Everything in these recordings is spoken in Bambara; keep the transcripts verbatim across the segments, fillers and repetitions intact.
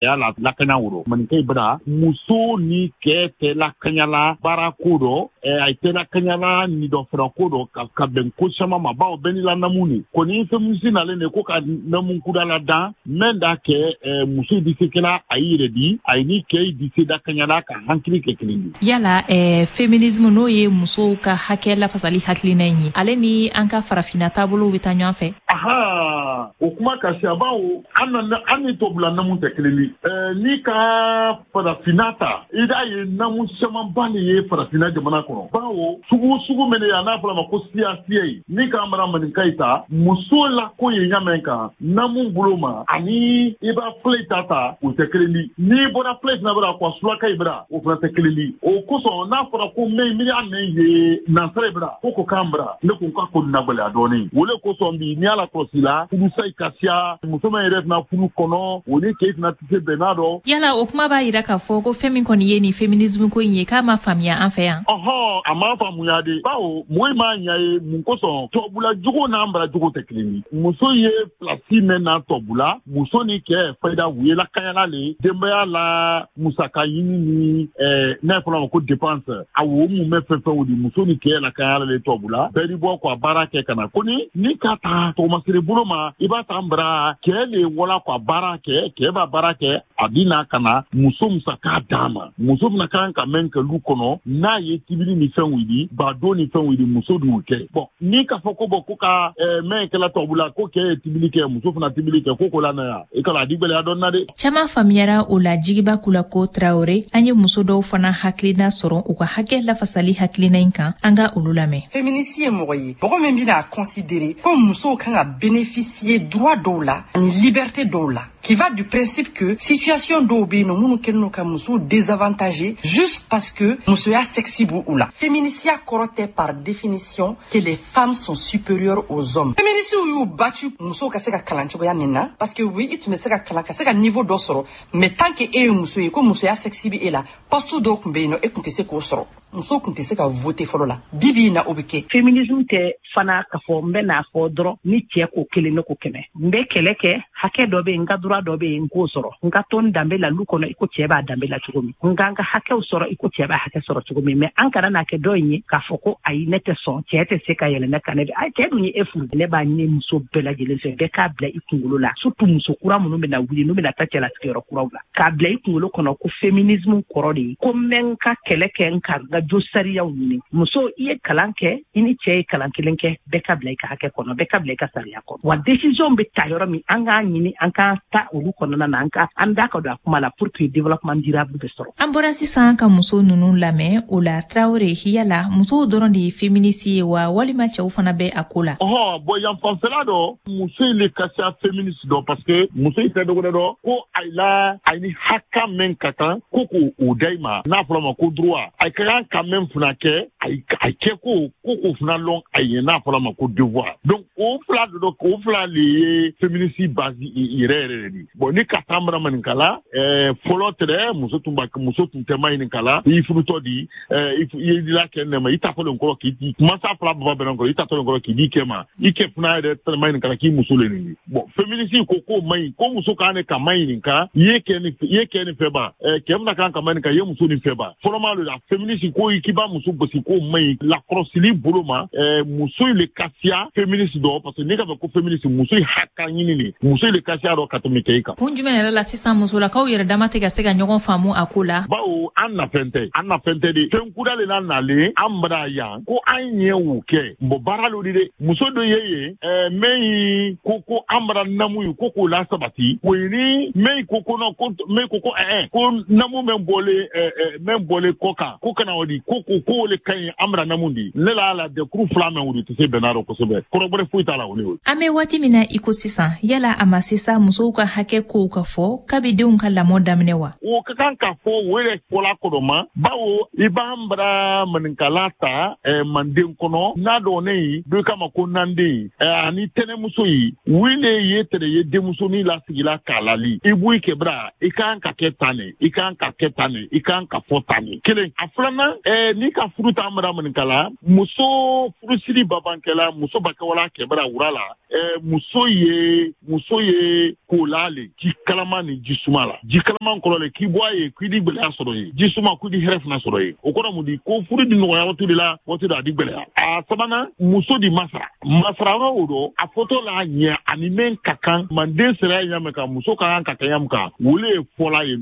Cɛya la lakana woro maninka bara muso ni cɛ tɛ lakanyala baara ko dɔ, a tɛ lakanyala ni dɔ fara ko dɔ ka ka bɛn ko caman ma, bawo bɛɛ n'i la namu ni kɔni. Féministe nalen de ko ka namu kudala dan mɛn da kɛ muso di se kɛla a y'i yɛrɛ di, a ni cɛ di se da kaɲala ka hankili kɛ kelen ye. Yala eh, féminisme, n'o ye musow ka hakɛ lafasali hakilina in ye, ale ni an ka farafinna taabolow bɛ taa ɲɔgɔn fɛ? Aha, o kuma ka siya, bawo an na an ni tubabula namu tɛ kelen ye. N'i ka farafinna ta, i b'a ye namu camanba de ye farafinna jamana kɔnɔ, bawo sugu sugu min ye a n'a fɔra ma ko siya siya ye. N'i ka mara maninka yi ta, muso la ko ye ɲamɛn kan namu bolo ma, ani i b'a filɛ ta ta, o tɛ kelen di. N'i bɔra filɛ fana bara ko sulaka yi bara, o fana tɛ kelen di. O kosɔn n'a fɔra ko mɛ miiriya mɛn ye nansara yi bara ko ko k'an bara, ne ko k'a ko nagɛlɛya dɔɔnin. O le kosɔn bi n'i y'a la kɔlɔsi la, furusa yi ka siya, muso min yɛrɛ fana furu kɔnɔ, o ni cɛ fana tɛ se bɛnna dɔ. Yala o kuma b'a yira k'a fɔ ko fɛn min kɔni ye nin féminisme ko in ye, k'a ma faamuya an fɛ yan? Ɔhɔn, a ma faamuya de, bawo mɔgɔ m'a ɲa ye. Mun kosɔn? Tubabula jogo n'an bara jogo tɛ kelen ye. Muso ye place mɛn na tubabula, muso ni cɛ fayida u ye lakanyala le denbaya la, musaka ɲini ni ɛɛ n'a fɔra ma ko dépense, a wo mun bɛ fɛn fɛnw di, muso ni cɛ lakanyala le tubabula. Bɛɛ di bɔ ka baara kɛ ka na ko ni ni ka ta tɔgɔmasere bolo ma, i b'a ta n bara cɛ le wala ka baara kɛ, cɛ b'a baara kɛ, a bi na ka na muso musaka d'a ma. Muso fana kan ka mɛn kɛ lu kɔnɔ, n'a ye tibili ni fɛnw wuli, badon ni fɛnw wuli, muso d'u kɛ. Bɔn, ni k'a fɔ ko bɔn ko ka mɛn kɛla tubabula ko cɛ ye tibili kɛ, muso fana tibili kɛ, ko ko la na yan, i kana a di gwɛlɛya dɔɔni na dɛ. Caman faamuyara o la. Jigiba Kulako Tarawele, an ye muso dɔw fana hakilina sɔrɔ u ka hakɛ lafasali hakilina in kan. An ka olu lamɛn. Féministe ye mɔgɔ ye, mɔgɔ min bɛna considérer ko musow kan ka bénéficier droit dɔw la ani liberté dɔw la, qui va du principe que situation dɔw bɛ yen nɔ minnu kɛlen don ka musow désavantager juste parce que musoya sexe b'u u la. Féminisiya kɔrɔ tɛ par définition que les femmes sont supérieures aux hommes. Féministes y'u battu musow ka se ka kalan cogoya min na, parce que oui, i tun bɛ se ka kalan ka se ka niveau dɔ sɔrɔ, mais tant que e ye muso ye, ko musoya sexe bɛ e la, poste dɔw tun bɛ yen nɔ, e tun tɛ se k'o sɔrɔ. Musow tun tɛ se ka voter fɔlɔ la. Bi bi in na, o bɛ kɛ. Féminisme tɛ fana k'a fɔ n bɛ n'a fɔ dɔrɔn ni cɛ ko kelen, ne ko kɛmɛ, n bɛ kɛlɛ kɛ. Hakɛ dɔ bɛ yen, n ka droit dɔ bɛ yen, n k'o sɔrɔ, n ka to n danbe la lu kɔnɔ i ko cɛ b'a danbe la cogo min, n ka n ka hakɛw sɔrɔ i ko cɛ b'a hakɛ sɔrɔ cogo min. Mais an kana n'a kɛ dɔ in ye k'a fɔ ko ayi, ne tɛ sɔn, cɛ tɛ se ka yɛlɛ ne kan. Ne bɛ ayi, cɛ dun ye e furu. Ne b'a ɲini muso bɛɛ lajɛlen fɛ, bɛɛ k'a bila i kunkolo la, surtout muso kura minnu bɛna wuli, n'u bɛna taa cɛlasigiyɔrɔ kuraw la, k'a bila i kunkolo kɔnɔ ko féminisme kɔrɔ de ye ko n bɛ n ka kɛlɛ kɛ, n ka n ka jo sariyaw ɲini. Muso, i ye kalan kɛ, i ni cɛ ye kalan kelen kɛ, bɛɛ ka bila i ka hakɛ kɔnɔ, bɛɛ ka bila i ka sariya kɔnɔ. Wa décision bɛ ta yɔrɔ min, an k'a ɲini an k'an ta olu kɔnɔna na, an ka an da ka don a kuma la pour que développement durable bɛ sɔrɔ. An bɔra sisan ka muso ninnu lamɛn. O la, Tarawele, yala musow dɔrɔn de ye féministe ye wa, walima cɛw fana bɛ a ko la? Ɔhɔn, bɔn, yan fanfɛla dɔ, muso in le ka siya féministe dɔ, parce que muso in tɛ dɔgɔdɛ dɔ ko ayi la, ayi ni haka mɛn ka kan ko k'o o da i ma, n'a fɔra ma ko droit, a ka kan ka mɛn fana kɛ, ayi a kɛ ko ko k'o fana lɔn a ye, n'a fɔra ma ko devoir. Donc o fila de dɔ, o fila le ye féministe base yɛrɛ yɛrɛ de di. Bon, ni ka taa mara maninkala ɛɛ fɔlɔ tɛrɛ, muso tun ba muso tun tɛ ma ɲininkala. I furutɔ di, ɛɛ i ye la kɛ nɛma, i ta fɔlen kɔrɔ k'i mansa fila baba bɛnna kɔrɔ, i ta tɔlen kɔrɔ k'i di kɛ ma, i kɛ fana yɛrɛ tɛ ma ɲininkala k'i muso le nin. Bon, féministe ko k'o man ɲi, ko muso kan ne ka ma ɲininka, i ye kɛ ni i ye kɛ nin fɛ ba, ɛɛ cɛ bɛna kan ka ma ɲininka i ye muso nin fɛ ba. Fɔlɔma le la, féministe ko k'i b'a muso gosi, k'o man ɲi lakɔlɔsili bolo ma. ɛɛ muso in le ka siya féministe dɔ, parce que n'i ka fɔ ko féministe, muso in haka ɲini de, muso in le ka siya dɔ ka tɛmɛ cɛ kan. Kun jumɛn yɛrɛ la sisan musolakaw yɛrɛ dama tɛ ka se ka ɲɔgɔn faamu a ko la? Bawo an nafɛn tɛ, an nafɛn tɛ de. Fɛn kuda le la nalen an bara yan ko an ɲɛ o kɛ. Bɔn, baara lo di dɛ. Muso dɔ ye yen ɛɛ mɛn yi ko ko an bara namu ye ko k'o la sabati, o ye ni mɛn ko ko non, ko mɛn ko ko ɛɛ ko namu mɛn bɔlen ɛɛ mɛn bɔlen kɔ kan ko kana o di, ko ko ko o le ka ɲi an bara namu di. Ne la la dɛkuru fila mɛn, o de tɛ se bɛnna rɔ kosɛbɛ, kɔrɔbɔrɔ foyi t'a la, o ne o. An bɛ waati min na i ko sisan, yala a ma se sa musow ka hakɛ kow ka fɔ kabi denw ka lamɔ daminɛ wa? O ka kan ka fɔ, o yɛrɛ fɔla kɔrɔma, bawo i b'an bara maninkala ta eh, manden kɔnɔ n'a dɔgɔnin ye dɔ kama ko nanden eh, ani tɛnɛmuso ye wele ye tɛrɛ ye denmusonin lasigila k'a lali, i b'o i kɛ bara, i kan ka kɛ tan ne, i kan ka kɛ tan ne, i kan ka fɔ tan ne. Kelen, a filanan eh, n'i ka furu t'an bara maninka muso furusiri babankɛla muso bakɛwala kɛbara wura la eh, muso ye muso ye kola le ji kalama ni ji suma la ji kalaman kɔrɔ le k'i bɔ a ye k'i di gwɛlɛya sɔrɔ ye ji suma k'i di hɛrɛ fana sɔrɔ ye o kɔrɔ mun di ko furu di nɔgɔya waati de la waati dɔ a di gwɛlɛya a sabanan muso di masara masara yɔrɔ o dɔ a fɔtɔ la ɲɛ ani min ka kan manden sariya ɲa min kan muso ka kan ka kɛ ɲa min kan wole ye fɔla ye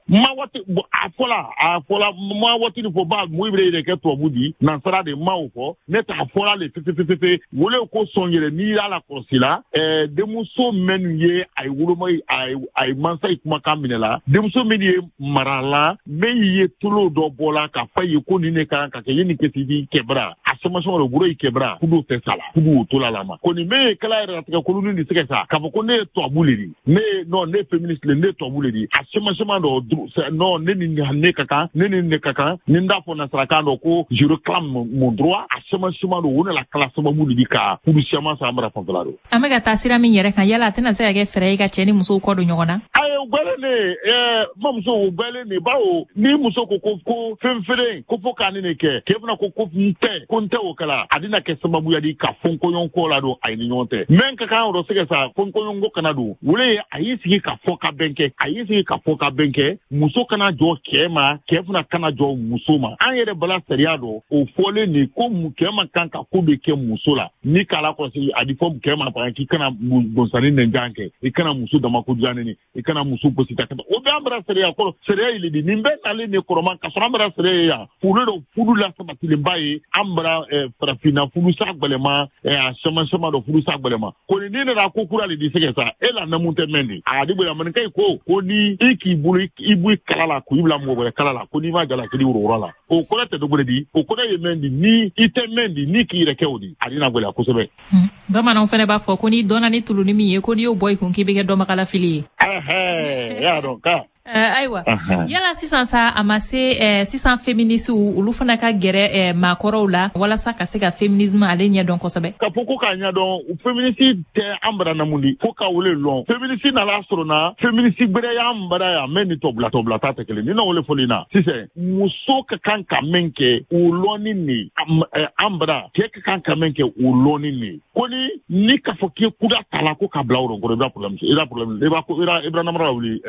ma waati a fɔla a fɔla ma waati ni fɔ ba mun bɛ yɛrɛ kɛ tubabu di nansara de ma o fɔ ne t'a fɔla le fefefefefe wole ko sɔn yɛrɛ n'i y'a la kɔlɔsi la ɛɛ denmuso minnu ye a ye woloma a ye a ye mansa ye kumakan minɛ la denmuso min ye mara la min ye tolo dɔ bɔ la k'a fɔ ye ko nin de kan ka kɛ ye nin kɛ i kɛbara a sɛmasɛma dɔ bolo i kɛbara kudu tɛ sa la kudu o to la la ma ko nin min ye kala yɛrɛ latigɛ koloni de sɛgɛ sa k'a fɔ ko ne ye tubabu le di ne ye non ne ye féministe le ne ye tubabu le di a sɛmasɛma dɔ non ne ni ne ka kan ne ni ne ka kan ni n t'a fɔ nasarakan dɔ ko je réclame mon droit a sɛmasɛma dɔ o nana kala sababu de di ka kudu siaman san mara fanfɛla don. An bɛ ka taa sira min yɛrɛ kan yala a tɛna se ka kɛ fɛɛrɛ ye ka cɛ ni musow kɔ don ɲɔgɔn na. Ayi o gbɛlen de ɛɛ mamuso o gbɛlen de bawo ni muso ko ko ko fɛn feere ko fo k'a ni ne kɛ k'e fana ko ko n tɛ ko n tɛ o kɛla a bɛna kɛ sababuya di ka fɔnkɔɲɔgɔnkɔ la don a ye ni ɲɔgɔn tɛ mɛ ka kan yɔrɔ sɛgɛ sa fɔnkɔɲɔgɔnkɔ kana don wele a y'i sigi ka fɔ ka bɛn kɛ a y'i sigi ka fɔ ka bɛn kɛ muso kana jɔ cɛ ma cɛ fana kana jɔ muso ma an yɛrɛ bala sariya dɔ o fɔlen de ko cɛ ma kan ka ko bɛ kɛ muso la ni k'a la kɔlɔsi a di fɔ cɛ ma par k'i kana gonsani nɛnjan kɛ i kana muso dama ko diya neni i kana muso gosi ka o bɛɛ an bara sariya kɔrɔ sariya yɛlɛ di nin bɛɛ nalen de kɔrɔma ka sɔrɔ an bara sariya ye yan furu dɔ furu la sabatilenba ye an bara farafinna furusa gwɛlɛma a caman caman dɔ furusa gwɛlɛma ko ni ne nana ko kura le di sɛgɛ sa e la namu tɛ mɛn di a di bonya maninka ko ko ni i k'i bolo i bɔ i kala la k'i bila mɔgɔ wɛrɛ kala la ko n'i ma jala k'i woro la o kɔrɔ tɛ dɔgɔrɛ di o kɔrɔ ye mɛn di ni i tɛ mɛn di ni k'i yɛrɛ kɛ o di a dina gwɛlɛya kosɛbɛ. Bamananw fana b'a fɔ ko n'i dɔnna ni tuluni min ye ko n'i y'o bɔ i kun k'i bɛ kɛ dɔnbagalafili ye. Ɛhɛn y'a dɔn ka. Ayiwa yala sisan sa a ma se sisan féministes olu fana ka gɛrɛ maakɔrɔw la walasa ka se ka féminisme ale ɲɛdɔn kosɛbɛ. Ka fɔ ko k'a ɲɛdɔn féministe tɛ an bara namu di fo ka wele lɔn féministe nana sɔrɔ na féministe gbɛrɛ y'an bara yan mɛ ni tɔbila tɔbila ta tɛ kelen ni na wele fɔli na sisan muso ka kan ka min kɛ o lɔnni ni an bara cɛ ka kan ka min kɛ o lɔnni ni ko ni ni k'a fɔ k'i kuda ta la ko ka bila o kɔrɔ i b'a problème i b'a problème i b'a ko i b'a namara wuli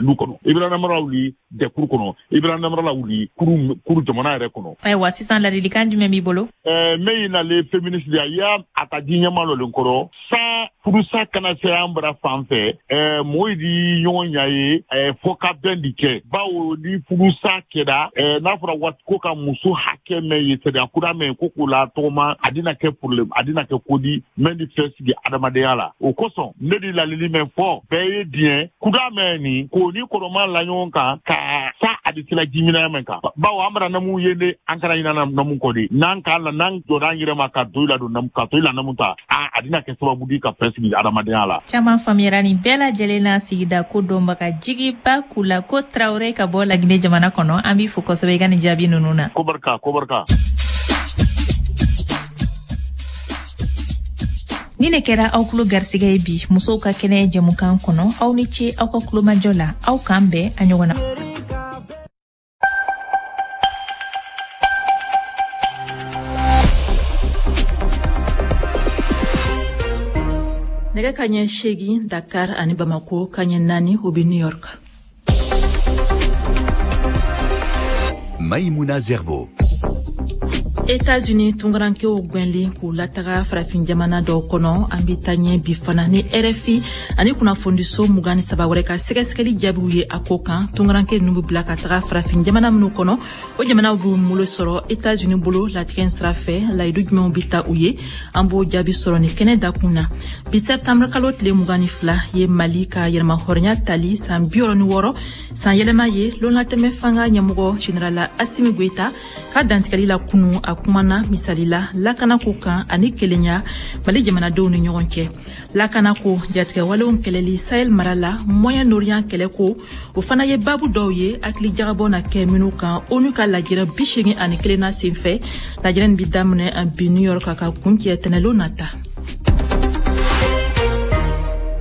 lu kɔnɔ i bɛ namara wuli dɛkuru kɔnɔ i bɛ namara wuli kuru kuru jamana yɛrɛ kɔnɔ. Ayiwa sisan ladilikan jumɛn b'i bolo. Ɛɛ min ye nalen féministe de ye a y'a a ka di ɲɛma dɔ le kɔrɔ san furusa kana se an bara fan fɛ ɛɛ mɔgɔw di ɲɔgɔn ɲa ye ɛɛ fɔ ka bɛn di kɛ bawo ni furusa kɛra ɛɛ n'a fɔra waati ko ka muso hakɛ mɛn ye sariya kura mɛn ko k'o la tɔgɔma a dina kɛ problème a dina kɛ ko di mɛn di fɛn sigi adamadenya la o kosɔn ne di lalili mɛn fɔ bɛɛ ye diɲɛ kuda mɛn nin k'o ni kɔrɔma la ɲɔgɔn kan ka sa a di sila jiminɛ mɛn kan bawo an bara namu ye de an kana ɲina namu kɔ de n'an k'a la n'an jɔra an yɛrɛ ma ka to i la don namu ka to i la namu ta a a dina kɛ sababu di ka fɛn sigi adamadenya la. Caman faamuyara nin bɛɛ lajɛlen na sigida ko dɔnbaga Jigiba Kulako Tarawele ka bɔ Laginɛ jamana kɔnɔ an b'i fo kosɛbɛ i ka nin jaabi ninnu na. Ko barika ko barika. Ni ne kɛra aw kulo garisɛgɛ ye bi musow ka kɛnɛ jɛmukan kɔnɔ aw ni ce aw ka kulomajɔ la aw k'an bɛn a ɲɔgɔn na. Nɛgɛ ka ɲɛ seegin Dakar ani Bamako ka ɲɛ naani o bɛ New York. Maïmouna Zerbo. États-Unis tunkarankew gwɛnlen k'u lataga farafin jamana dɔw kɔnɔ an bɛ taa ɲɛ bi fana ni R F I ani kunnafonidiso mugan ni saba wɛrɛ ka sɛgɛsɛgɛli jaabiw ye a ko kan tunkaranke ninnu bɛ bila ka taga farafin jamana minnu kɔnɔ o jamanaw b'u bolo sɔrɔ États-Unis bolo latigɛ sira fɛ layidu jumɛnw bɛ ta u ye an b'o jaabi sɔrɔ ni kɛnɛ dakun na bi septembre kalo tile mugan ni fila ye Mali ka yɛrɛmahɔrɔnya tali san bi wɔɔrɔ ni wɔɔrɔ san yɛlɛma ye lonlatɛmɛ fanga ɲɛmɔgɔ général Assimi Goïta ka dantigɛli la kunu a kumana misali la lakanako kan ani kelenya Mali jamanadenw ni ɲɔgɔn cɛ lakanako jatigɛwalew kɛlɛli Sahel mara la Moyen-Orient kɛlɛko o fana ye babu dɔw ye hakili jagabɔ na kɛ minnu kan ONU ka lajɛrɛ bi seegin ani kelen na senfɛ lajɛrɛ nin bi daminɛ bi New York ka kuncɛ tɛnɛlon nata.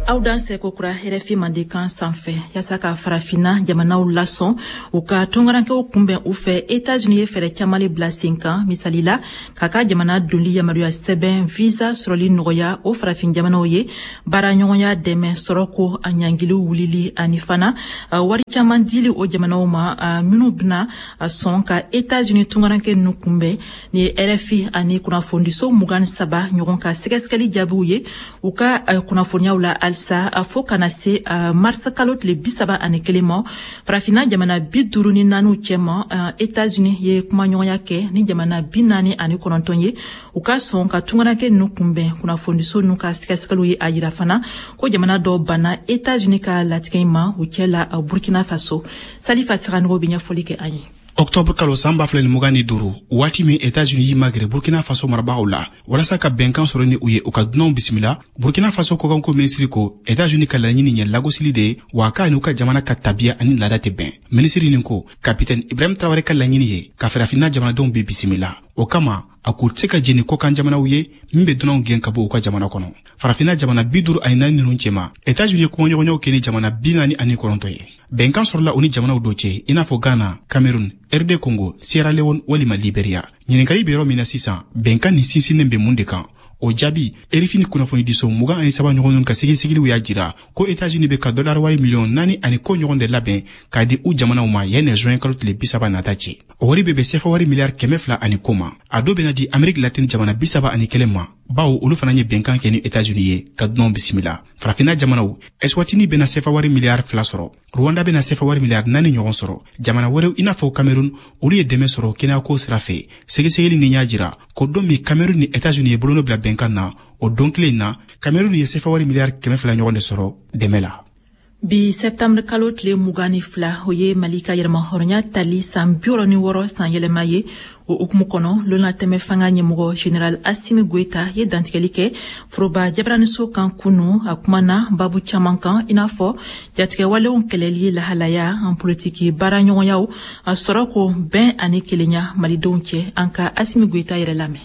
Aw dansɛ kokura R F I Mandenkan sanfɛ. Yaasa ka Farafinna jamanaw lasɔn u ka tungarankɛw kunbɛn u fɛ, Etats-Unis ye fɛɛrɛ caman le bila sen kan, misali la k'a ka jamana donli yamaruya sɛbɛn visa sɔrɔli nɔgɔya o farafin jamanaw ye, baaraɲɔgɔnya dɛmɛ, sɔrɔko a ɲangiliw wulili, ani fana wari caman dili o jamanaw ma minnu bɛna sɔn ka Etats-Unis tungarankɛ ninnu kunbɛn. Ni ye R F I ani kunnafonidiso mugan saba ɲɔgɔn ka sɛgɛsɛgɛli jaabiw ye u ka kunnafoniyaw la. Halisa, fo kana se marisi kalo tile bi saba ani kelen ma, Farafinna jamana bi duuru ni naaniw cɛma, Etats-Unis ye kumaɲɔgɔnya kɛ ni jamana bi naani ani kɔnɔntɔn ye u ka sɔn ka tungarankɛ ninnu kunbɛn. Kunnafonidiso ninnu ka sɛgɛsɛgɛliw ye a yira fana ko jamana dɔw banna Etats-Unis ka latigɛ in ma, u cɛ la Burkina Faso. Salifa Saganogo bɛ ɲɛfɔli kɛ an ye. Octobre kalo san ba fila ni mugan ni duuru, waati min Etats-Unis y'i magɛrɛ Burkina Faso marabagaw la walasa ka bɛnkan sɔrɔ ni u ye u ka dunanw bisimila, Burkina Faso kɔkanko minisiri ko Etats-Unis ka laɲini ye lagosili de ye, wa k'a n'u ka jamana ka tabiya ani laada tɛ bɛn. Minisiri nin ko Kapitɛni Ibrahim Tarawele ka laɲini ye ka Farafinna jamanadenw bɛ bisimila, o kama a k'u tɛ se ka jeni kɔkan jamanaw ye min bɛ dunanw gɛn ka bɔ u ka jamana kɔnɔ. Farafinna jamana bi duuru ani naani ninnu cɛma, Etats-Unis ye kumaɲɔgɔnyaw kɛ ni jamana bi naani ani kɔnɔntɔn ye. Bɛnkan sɔrɔla u ni jamanaw dɔ cɛ, i n'a fɔ Ghana, Cameroun, R D Congo, Sierra Leone walima Liberia. Ɲininkali bɛ yɔrɔ min na sisan, bɛnkan nin sinsinnen bɛ mun de kan? O jaabi, R F I ni kunnafonidiso mugan ani saba ɲɔgɔn ka sɛgɛsɛgɛliw y'a jira ko Etats-Unis bɛ ka dollar wari miliyɔn naani ani ko ɲɔgɔn de labɛn k'a di u jamanaw ma yanni juin kalo tile bi saba nata cɛ. O wari bɛ bɛn sefa wari miliyari kɛmɛ fila ani ko ma. A dɔ bɛna di Ameriki Latini jamana bi saba ani kelen ma, bawo olu fana ye bɛnkan kɛ ni Etats-Unis ye ka dunanw bisimila. Farafinna jamanaw, Eswatini bɛna sefa wari miliyari fila sɔrɔ, Rwanda bɛna sefa wari miliyari naani ɲɔgɔn sɔrɔ. Jamana wɛrɛw i n'a fɔ Cameroun, olu ye dɛmɛ sɔrɔ kɛnɛyako sira fɛ. Sɛgɛsɛgɛli nin y'a jira ko don min Cameroun ni Etats-Unis ye bolonɔ bila bɛnkan na, o don kelen na, Cameroun ye sefa wari miliyari kɛmɛ fila ɲɔgɔn de sɔrɔ dɛmɛ la. Bi septembre kalo tile mugan ni fila, o ye Mali ka yɛrɛmahɔrɔnya tali san bi wɔɔrɔ ni wɔɔrɔ san yɛlɛma ye. O hukumu kɔnɔ, lonatɛmɛ fanga ɲɛmɔgɔ Général Asimi Goyita ye dantigɛli kɛ foroba jabaraniso kan kunu. A kumana babu caman kan, i n'a fɔ jatigɛwalenw kɛlɛli lahalaya, an politiki baaraɲɔgɔnyaw, a sɔrɔ ko bɛn ani kelenya malidenw cɛ. An ka Asimi Goyita yɛrɛ lamɛn.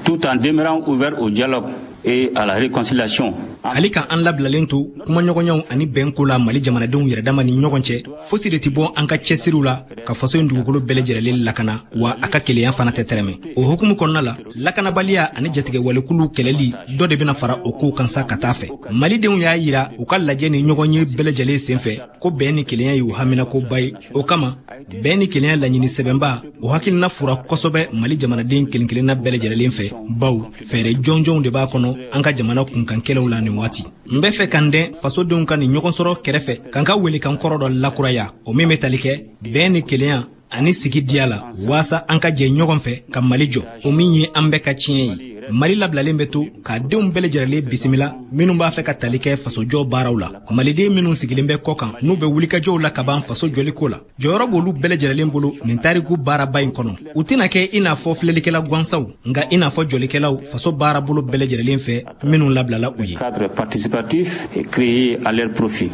Tout en demeurant ouvert au dialogue et à la réconciliation. Hali ka an labilalen to kumaɲɔgɔnyaw ani bɛnko la Mali jamanadenw yɛrɛ dama ni ɲɔgɔn cɛ, fosi de tɛ bɔ an ka cɛsiriw la ka faso in dugukolo bɛɛ lajɛrɛlen lakana, wa a ka kelenya fana tɛ tɛrɛmɛ. O hukumu kɔnɔna la, lakanabaliya ani jatigɛwalekulu kɛlɛli, dɔ de bɛna fara o kow kan sa ka taa fɛ. Malidenw y'a yira u ka lajɛ ni ɲɔgɔn ye bɛɛ lajɛlen sen fɛ ko bɛn ni kelenya y'u haminakoba ye. O kama, bɛn ni kelenya laɲini sɛbɛnba, o hakilina fura kosɛbɛ Mali jamanaden kelen kelenna bɛɛ lajɛrɛlen fɛ, baw fɛɛrɛ jɔnjɔnw de b'a kɔnɔ an ka jamana kunkankɛlɛw la nin waati. N bɛ fɛ ka n dɛn fasodenw ka nin ɲɔgɔn sɔrɔ kɛrɛfɛ ka n ka welekan kɔrɔ dɔ lakuraya, o min bɛ tali kɛ bɛn ni kelenya ani sigi diya la, waasa an ka jɛ ɲɔgɔn fɛ ka Mali jɔ, o min ye an bɛɛ ka tiɲɛ ye. Mali labilalen bɛ to k'a denw bɛɛ lajɛrɛlen bisimila minnu b'a fɛ ka tali kɛ fasojɔ baaraw la. Maliden minnu sigilen bɛ kɔ kan, n'u bɛ wulikajɔw la ka ban faso jɔliko la, jɔyɔrɔ b'olu bɛɛ lajɛrɛlen bolo nin tariku baaraba in kɔnɔ. U tɛna kɛ i n'a fɔ filɛlikɛla gansanw, nka i n'a fɔ jɔlikɛlaw faso baarabolo bɛɛ lajɛrɛlen fɛ minnu labilala u ye. Cadre participatif et créé à leur profit.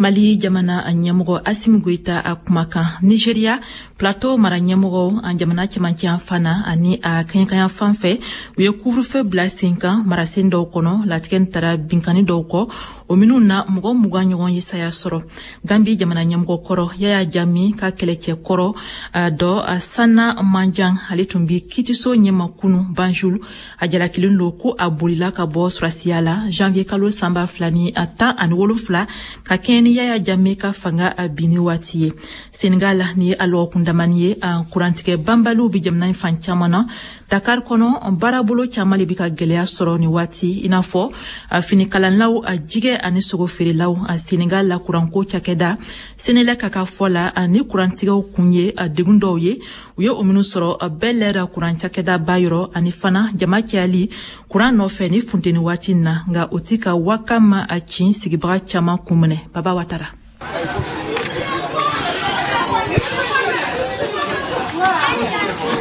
Mali jamana a ɲɛmɔgɔ Asimi Goyita a kumakan. Nigeria, Plateau mara ɲɛmɔgɔ, an jamana cɛmancɛ fana ani a kɛɲɛkanya fan fɛ, u ye couvre-feu bila sen kan marasen dɔw kɔnɔ. Latigɛ taara binkani dɔw kɔ, o minnu na mɔgɔ mugan ɲɔgɔn ye saya sɔrɔ. Gambi jamana ɲɛmɔgɔ kɔrɔ Yaya Jami ka kɛlɛcɛ kɔrɔ dɔ Sanna Manjan, ale tun bi kitiso ɲɛma kunu Banjul. A jalakilen don ko a bolila ka bɔ surasiya la janvier kalo san ba fila ni tan ani wolonfila ka kɛɲɛ ni Yaya Jame ka fanga binni waati ye. Senegal, ni ye a lɔgɔkun damani ye, kurantigɛ banbaliw bi jamana in fan caman na. Dakar kɔnɔ, baarabolo caman de bi ka gwɛlɛya sɔrɔ ni waati, i n'a fɔ finikalanlaw, a jigɛ ani sogo feerelaw. A Senegal la kuranko cakɛda Senelec ka ka fɔ la, ni kurantigɛw kun ye degun dɔw ye u ye o minnu sɔrɔ Bel Air kuran cakɛda ba yɔrɔ, ani fana jama cayali kuran nɔfɛ ni funteni waati na, nka o ti ka waka ma a cin sigibaga caman kun minɛ. Baba Watara.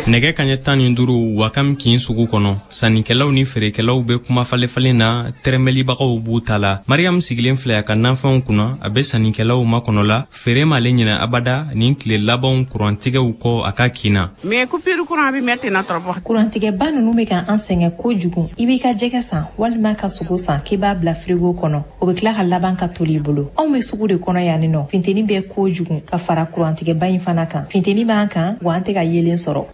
Nɛgɛ kaɲɛ tan ni duuru Wakam kin sugu kɔnɔ, sannikɛlaw ni feerekɛlaw bɛ kuma falenfalen na, tɛrɛmɛlibagaw b'u ta la. Mariam sigilen filɛ a ka nafɛnw kunna, a bɛ sannikɛlaw makɔnɔ la. Feere m'ale ɲinɛ abada nin tile labanw kurantigɛw kɔ a ka kin na. Mais coupure courant bi metti na trop. Kurantigɛba ninnu bɛ ka an sɛgɛn kojugu. I b'i ka jɛgɛ san walima ka sogo san k'i b'a bila frigo kɔnɔ, o bɛ tila ka laban ka toli i bolo. Anw bɛ sugu de kɔnɔ yan nɔ, funteni bɛ kojugu ka fara kurantigɛba in fana kan. Funteni b'an kan wa an tɛ ka yeelen sɔrɔ.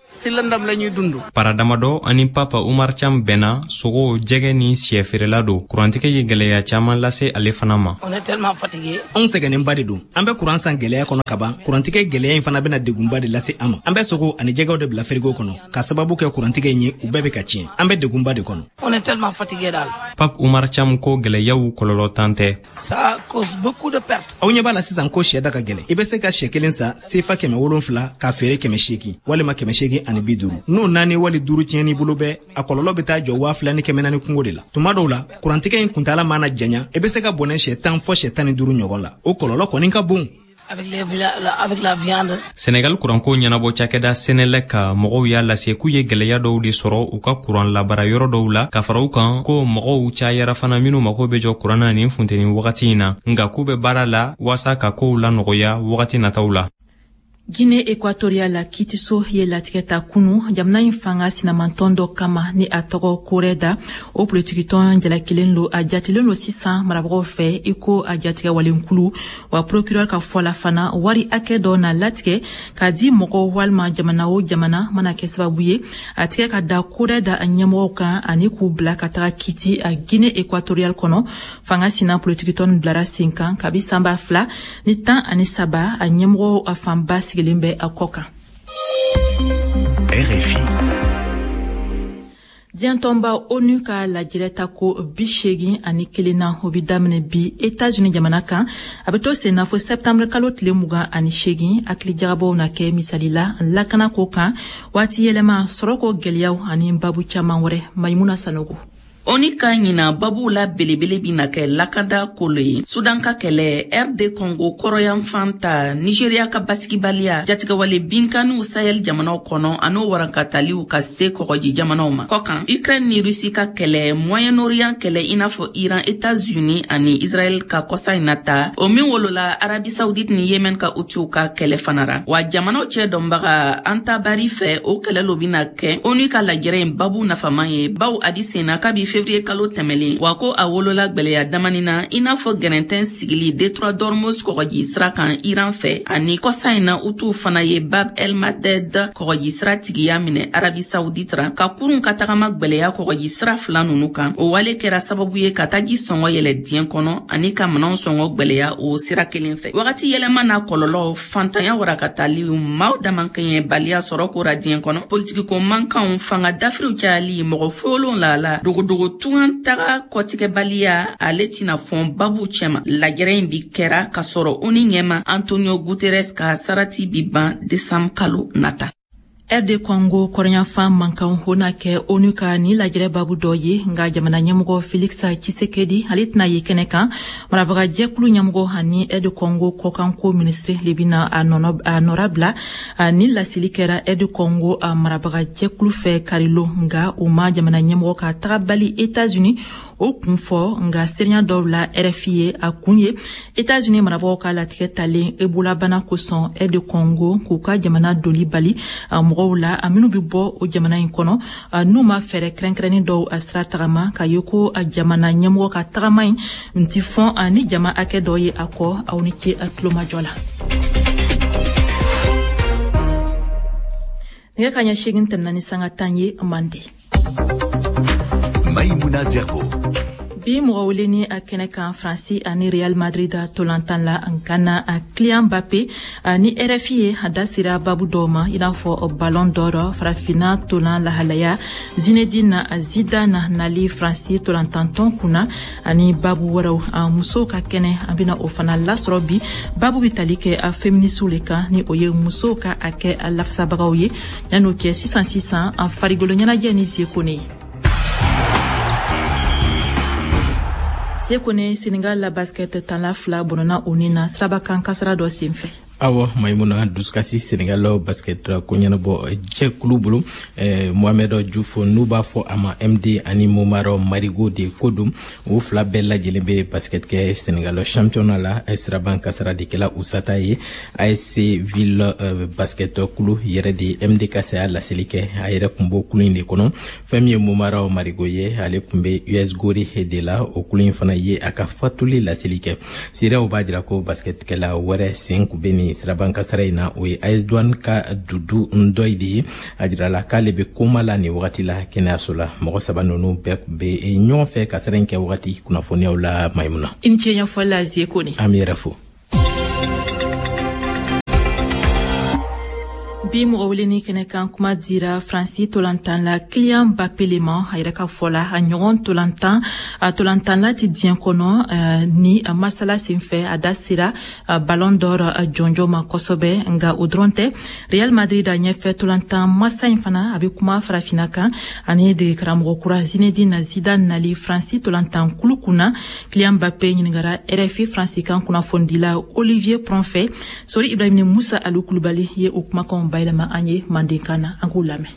Para damadɔ ani Papa Umar Cham bɛnna, sogo, jɛgɛ ni siyɛ feerela don. Kurantigɛ ye gɛlɛya caman lase ale fana ma. Anw sɛgɛnnenba de don. An bɛ kuran san gɛlɛya kɔnɔ kaban, kurantigɛ gɛlɛya in fana bɛna degunba de lase an ma. An bɛ sogo ani jɛgɛw de bila firigo kɔnɔ ka sababu kɛ kurantigɛ in ye, u bɛɛ bɛ ka tiɲɛ. An bɛ degunba de kɔnɔ. Pape Umar Cham ko gɛlɛyaw kɔlɔlɔ tan tɛ. Aw ɲɛ b'a la sisan ko siyɛ da ka gɛlɛn. I bɛ se ka siyɛ kelen san sefa kɛmɛ wolonfila k'a feere kɛmɛ seegin walima kɛmɛ seegin ani bi duuru. N'o naani wali duuru tiɲɛn'i bolo bɛɛ, a kɔlɔlɔ bɛ taa jɔ waa fila ni kɛmɛ naani kungo de la. Tuma dɔw la, kurantigɛ in kuntaala mana janya, i bɛ se ka bɔnɛ siyɛ tan fɔ siyɛ tan ni duuru ɲɔgɔn la. O kɔlɔlɔ kɔni ka bon. Senegal kuranko ɲɛnabɔ cakɛda Senelec ka mɔgɔw y'a lase k'u ye gɛlɛya dɔw de sɔrɔ u ka kuran labara yɔrɔ dɔw la, ka fara u kan ko mɔgɔw cayara fana minnu mago bɛ jɔ kuran na nin funteni wagati in na, nka k'u bɛ baara la waasa ka kow lanɔgɔya wagati nataw la. Guinée équatoriale la kiitiso ye latigɛ ta kunu jamana in fanga sinamantɔn dɔ kama ni a tɔgɔ Koreda. O politikitɔn jalakilen lo, a jatilen lo sisan marabagaw fɛ i ko a jatigɛwalenkulu. Wa procureur ka fɔ la fana, wari hakɛ dɔ na latigɛ k'a di mɔgɔw walima jamana o jamana mana kɛ sababu ye a tigɛ ka da Koreda a ɲɛmɔgɔw kan ani k'u bila ka taga kiti a Guinée équatoriale kɔnɔ. Fanga sina politikitɔn bilara sen kan kabi san ba fila ni tan ani saba, a ɲɛmɔgɔw a fanba sigilen bɛ a kɔ kan. R F I. Diɲɛ tɔnba ONU ka lajɛrɛ ta ko bi seegin ani kelen na, o bi daminɛ bi États-Unis jamana kan. A bɛ to sen na fo septembre kalo tile mugan ani seegin. Hakilijagabɔw na kɛ misali la lakana ko kan, waati yɛlɛma, sɔrɔko gɛlɛyaw ani babu caman wɛrɛ. Mayimuna Sanogo. ONU ka ɲina babuw la belebele bina kɛ lakanda kolo ye, Sudan ka kɛlɛ, R D Congo kɔrɔyanfan ta, Nigeria ka basigibaliya, jatigɛwale binkanniw Sahel jamanaw kɔnɔ an'o warankataliw ka se kɔgɔji jamanaw ma. Kɔkan, Ukraine ni Russie ka kɛlɛ, Moyen-Orient kɛlɛ i n'a fɔ Iran, États-Unis ani Israël ka kɔsa in na ta, o min wolola Arabie Saoudite ni Yemen ka Houthis ka kɛlɛ fana ra. Wa jamanaw cɛ dɔnbaga Antabari fɛ, o kɛlɛ lo bina kɛ ONU ka lajɛrɛ in babu nafaman ye, baw a bi sen na kabi février kalo tɛmɛlen. Wa ko a wolola gwɛlɛya damani na i n'a fɔ gɛrɛntɛn sigili détroit d'Ormuz kɔgɔji sira kan Iran fɛ, ani kɔsa in na Hutu fana ye Bab el Mandeb kɔgɔji sira tigiya minɛ Arabie Saoudite ra, ka kurun ka tagama gwɛlɛya kɔgɔji sira fila nunu kan. O wale kɛra sababu ye ka taji sɔngɔ yɛlɛ diɲɛ kɔnɔ ani ka minɛnw sɔngɔ gwɛlɛya o sira kelen fɛ. Wagati yɛlɛma n'a kɔlɔlɔ, fantanya warakataliw, maaw damankɛɲɛbaliya sɔrɔ kora diɲɛ kɔnɔ, politikiko mankanw, fanga dafiriw cayali, mɔgɔ folon la la, dogodogo tungan taga kɔtigɛbaliya, ale tɛna fɔn babu cɛma. Lajɛrɛ in bi kɛra k'a sɔrɔ ONU ɲɛma Antonio Guterres ka sarati bi ban décembre kalo nata. R D Congo kɔrɔnyanfan mankan o na kɛ ONU ka ni lajɛrɛ babu dɔ ye, nka jamana ɲɛmɔgɔ Félix Tshisekedi ale tɛna ye kɛnɛ kan. Marabaga jɛkulu ɲɛmɔgɔ ani R D Congo kɔkanko minisiri le bɛna a nɔnɔ a nɔra bila. Ni laseli kɛra R D Congo a marabaga jɛkulu fɛ karilon, nka o ma jamana ɲɛmɔgɔ ka tagabali États-Unis o kun fɔ. Nka seereya dɔw la R F I ye, a kun ye États-Unis marabagaw ka latigɛ talen Ebola bana kosɔn R D Congo k'u ka jamana doli bali mɔgɔw la a minnu bɛ bɔ o jamana in kɔnɔ n'u ma fɛɛrɛ kɛrɛnkɛrɛnnen dɔw a sira tagama, k'a ye ko a jamana ɲɛmɔgɔ ka tagama in ti fɔn ni jama hakɛ dɔ ye a kɔ. Aw ni ce a tulomajɔ la. Nɛgɛ kaɲɛ seegin tɛmɛna ni sanga tan ye Mande. Maïmouna Zerbo. Bi mɔgɔ wele ni a kɛnɛ kan Faransi ani Real Madrid tolantan la Ghana a Kylian Mbappé ni R F I ye a da sera babu dɔw ma i n'a fɔ Ballon d'Or, farafinna tolan lahalaya, Zinedine Zidane nali Faransi tolantantɔn kunna ani babu wɛrɛw. A musow ka kɛnɛ an bɛna o fana lasɔrɔ bi. Babu bɛ tali kɛ a féministes le kan, ni o ye musow ka hakɛ a lafasabagaw ye. Yan'o kɛ sisan sisan a farikolo ɲɛnajɛ ni Sekone ye. Sekone, Senegal la basket tanla fila bɔnna o ni na sirabakan kasara dɔ senfɛ. Awɔ Maimuna, dusukasi Senegal basket ko ɲɛnabɔ jɛkulu bolo, eh, Mohamed Diouf n'u b'a fɔ a ma M D ani Momar Marigo de ko don. O fila bɛɛ lajɛlen bɛ basket kɛ Senegal championnat la. Siraban kasara de kɛla u sata ye. A S C Ville euh, basket kulu yɛrɛ de M D ka saya laseli kɛ. A yɛrɛ kun b'o kulu in de kɔnɔ. Fɛn min ye Momar Marigo ye, ale kun bɛ U S Gorée de la. O kulu in fana ye a ka fatuli laseli kɛ. Seerew b'a jira ko basketkɛla wɛrɛ sen kun bɛ nin siraban kasara in na, o ye A S Douane ka Dudu Ndoye de ye. A jirala k'ale bɛ koma la nin wagati la kɛnɛyaso la. Mɔgɔ saba ninnu bɛɛ kun bɛ ɲɔgɔn fɛ kasara in kɛ wagati kunnafoniyaw la. Maimuna, i ni ce ɲɛfɔli la Zie Kone. An b'i yɛrɛ fo. Bi mɔgɔ weleni kɛnɛ kan, kuma dira Faransi tolantan la Kylian Mbappé le ma. A yɛrɛ ka fɔ la, a ɲɔgɔn tolantan a tolantanla ti diɲɛ kɔnɔ ni masala senfɛ a da sera Ballon d'Or jɔnjɔn ma kosɛbɛ. Nka o dɔrɔn tɛ, Real Madrid a ɲɛfɛ tolantan masa in fana a bɛ kuma farafinna kan ani dege karamɔgɔ kura Zinedine Zidane nali Faransi tolantan kulu kunna. Kylian Mbappé ɲininkara R F I Faransi kan kunnafonidila Olivier Pron fɛ. Sori Ibrahim ni Musa Alu Kulubali ye o kumakanw bayɛlɛma an ye mandenkan na, an k'u lamɛn.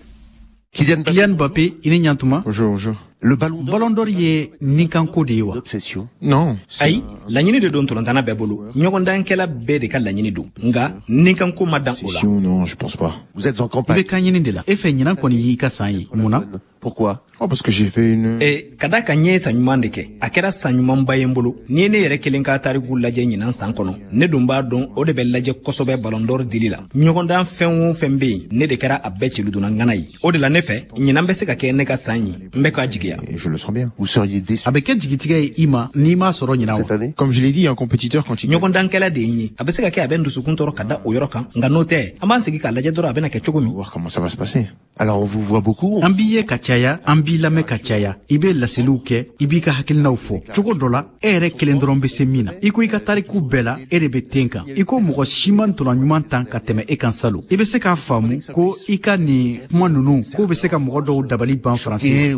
Kylian Mbappé, i ni ɲantuma. Bonjour, bonjour. Le ballon d'or, ballon d'or ye ninkanko de ye wa? Non. Ayi, laɲini de don tolontanna bɛɛ bolo. Ɲɔgɔndankɛla bɛɛ de ka laɲini don. Nka ninkanko ma dan o la. Non, je pense pas. Vous êtes en campagne. I bɛ kan ɲini de la. E fɛ ɲinan kɔni y'i ka san ye. Mun na? Pourquoi? Oh, parce que j'ai fait une... Eh, ka da kan n ye san ɲuman de kɛ. A kɛra san ɲumanba ye n bolo. N'i ye ne yɛrɛ kelen ka tariku lajɛ ɲinan san kɔnɔ, ne dun b'a dɔn o de bɛ lajɛ kosɛbɛ Ballon d'Or dili la. Ɲɔgɔndan fɛn o fɛn bɛ yen, ne de kɛra a bɛɛ celudonna ŋana ye. O de la ne fɛ, ɲinan bɛ se ka kɛ ne ka san ye. N bɛ k'a jigiya. Je le sens bien. Vous seriez déçu. A bɛ kɛ jigitigɛ ye i ma n'i m'a sɔrɔ ɲinan wa? Cette année, comme je l'ai dit, un compétiteur quand il... Ɲɔgɔndankɛla de ye n ye. A bɛ se ka kɛ a bɛ n dusukun tɔɔrɔ ka da o yɔrɔ kan, nka n'o tɛ, an b'an sigi k'a lajɛ dɔrɔn a bɛna kɛ cogo min. Voir comment ça va se passer. Alors on vous voit beaucoup. An b'i ye ka caya, an b'i lamɛn ka caya. I bɛ laseliw kɛ, i b'i ka hakilinaw fɔ. Cogo dɔ la, e yɛrɛ kelen dɔrɔn bɛ se min na. I ko i ka tariku bɛɛ la, e de bɛ ten kan. I ko mɔgɔ si ma ntolan ɲuman tan ka tɛmɛ e kan salon. I bɛ se k'a faamu ko i ka nin kuma ninnu k'o bɛ se ka mɔgɔ dɔw dabali ban Faransi.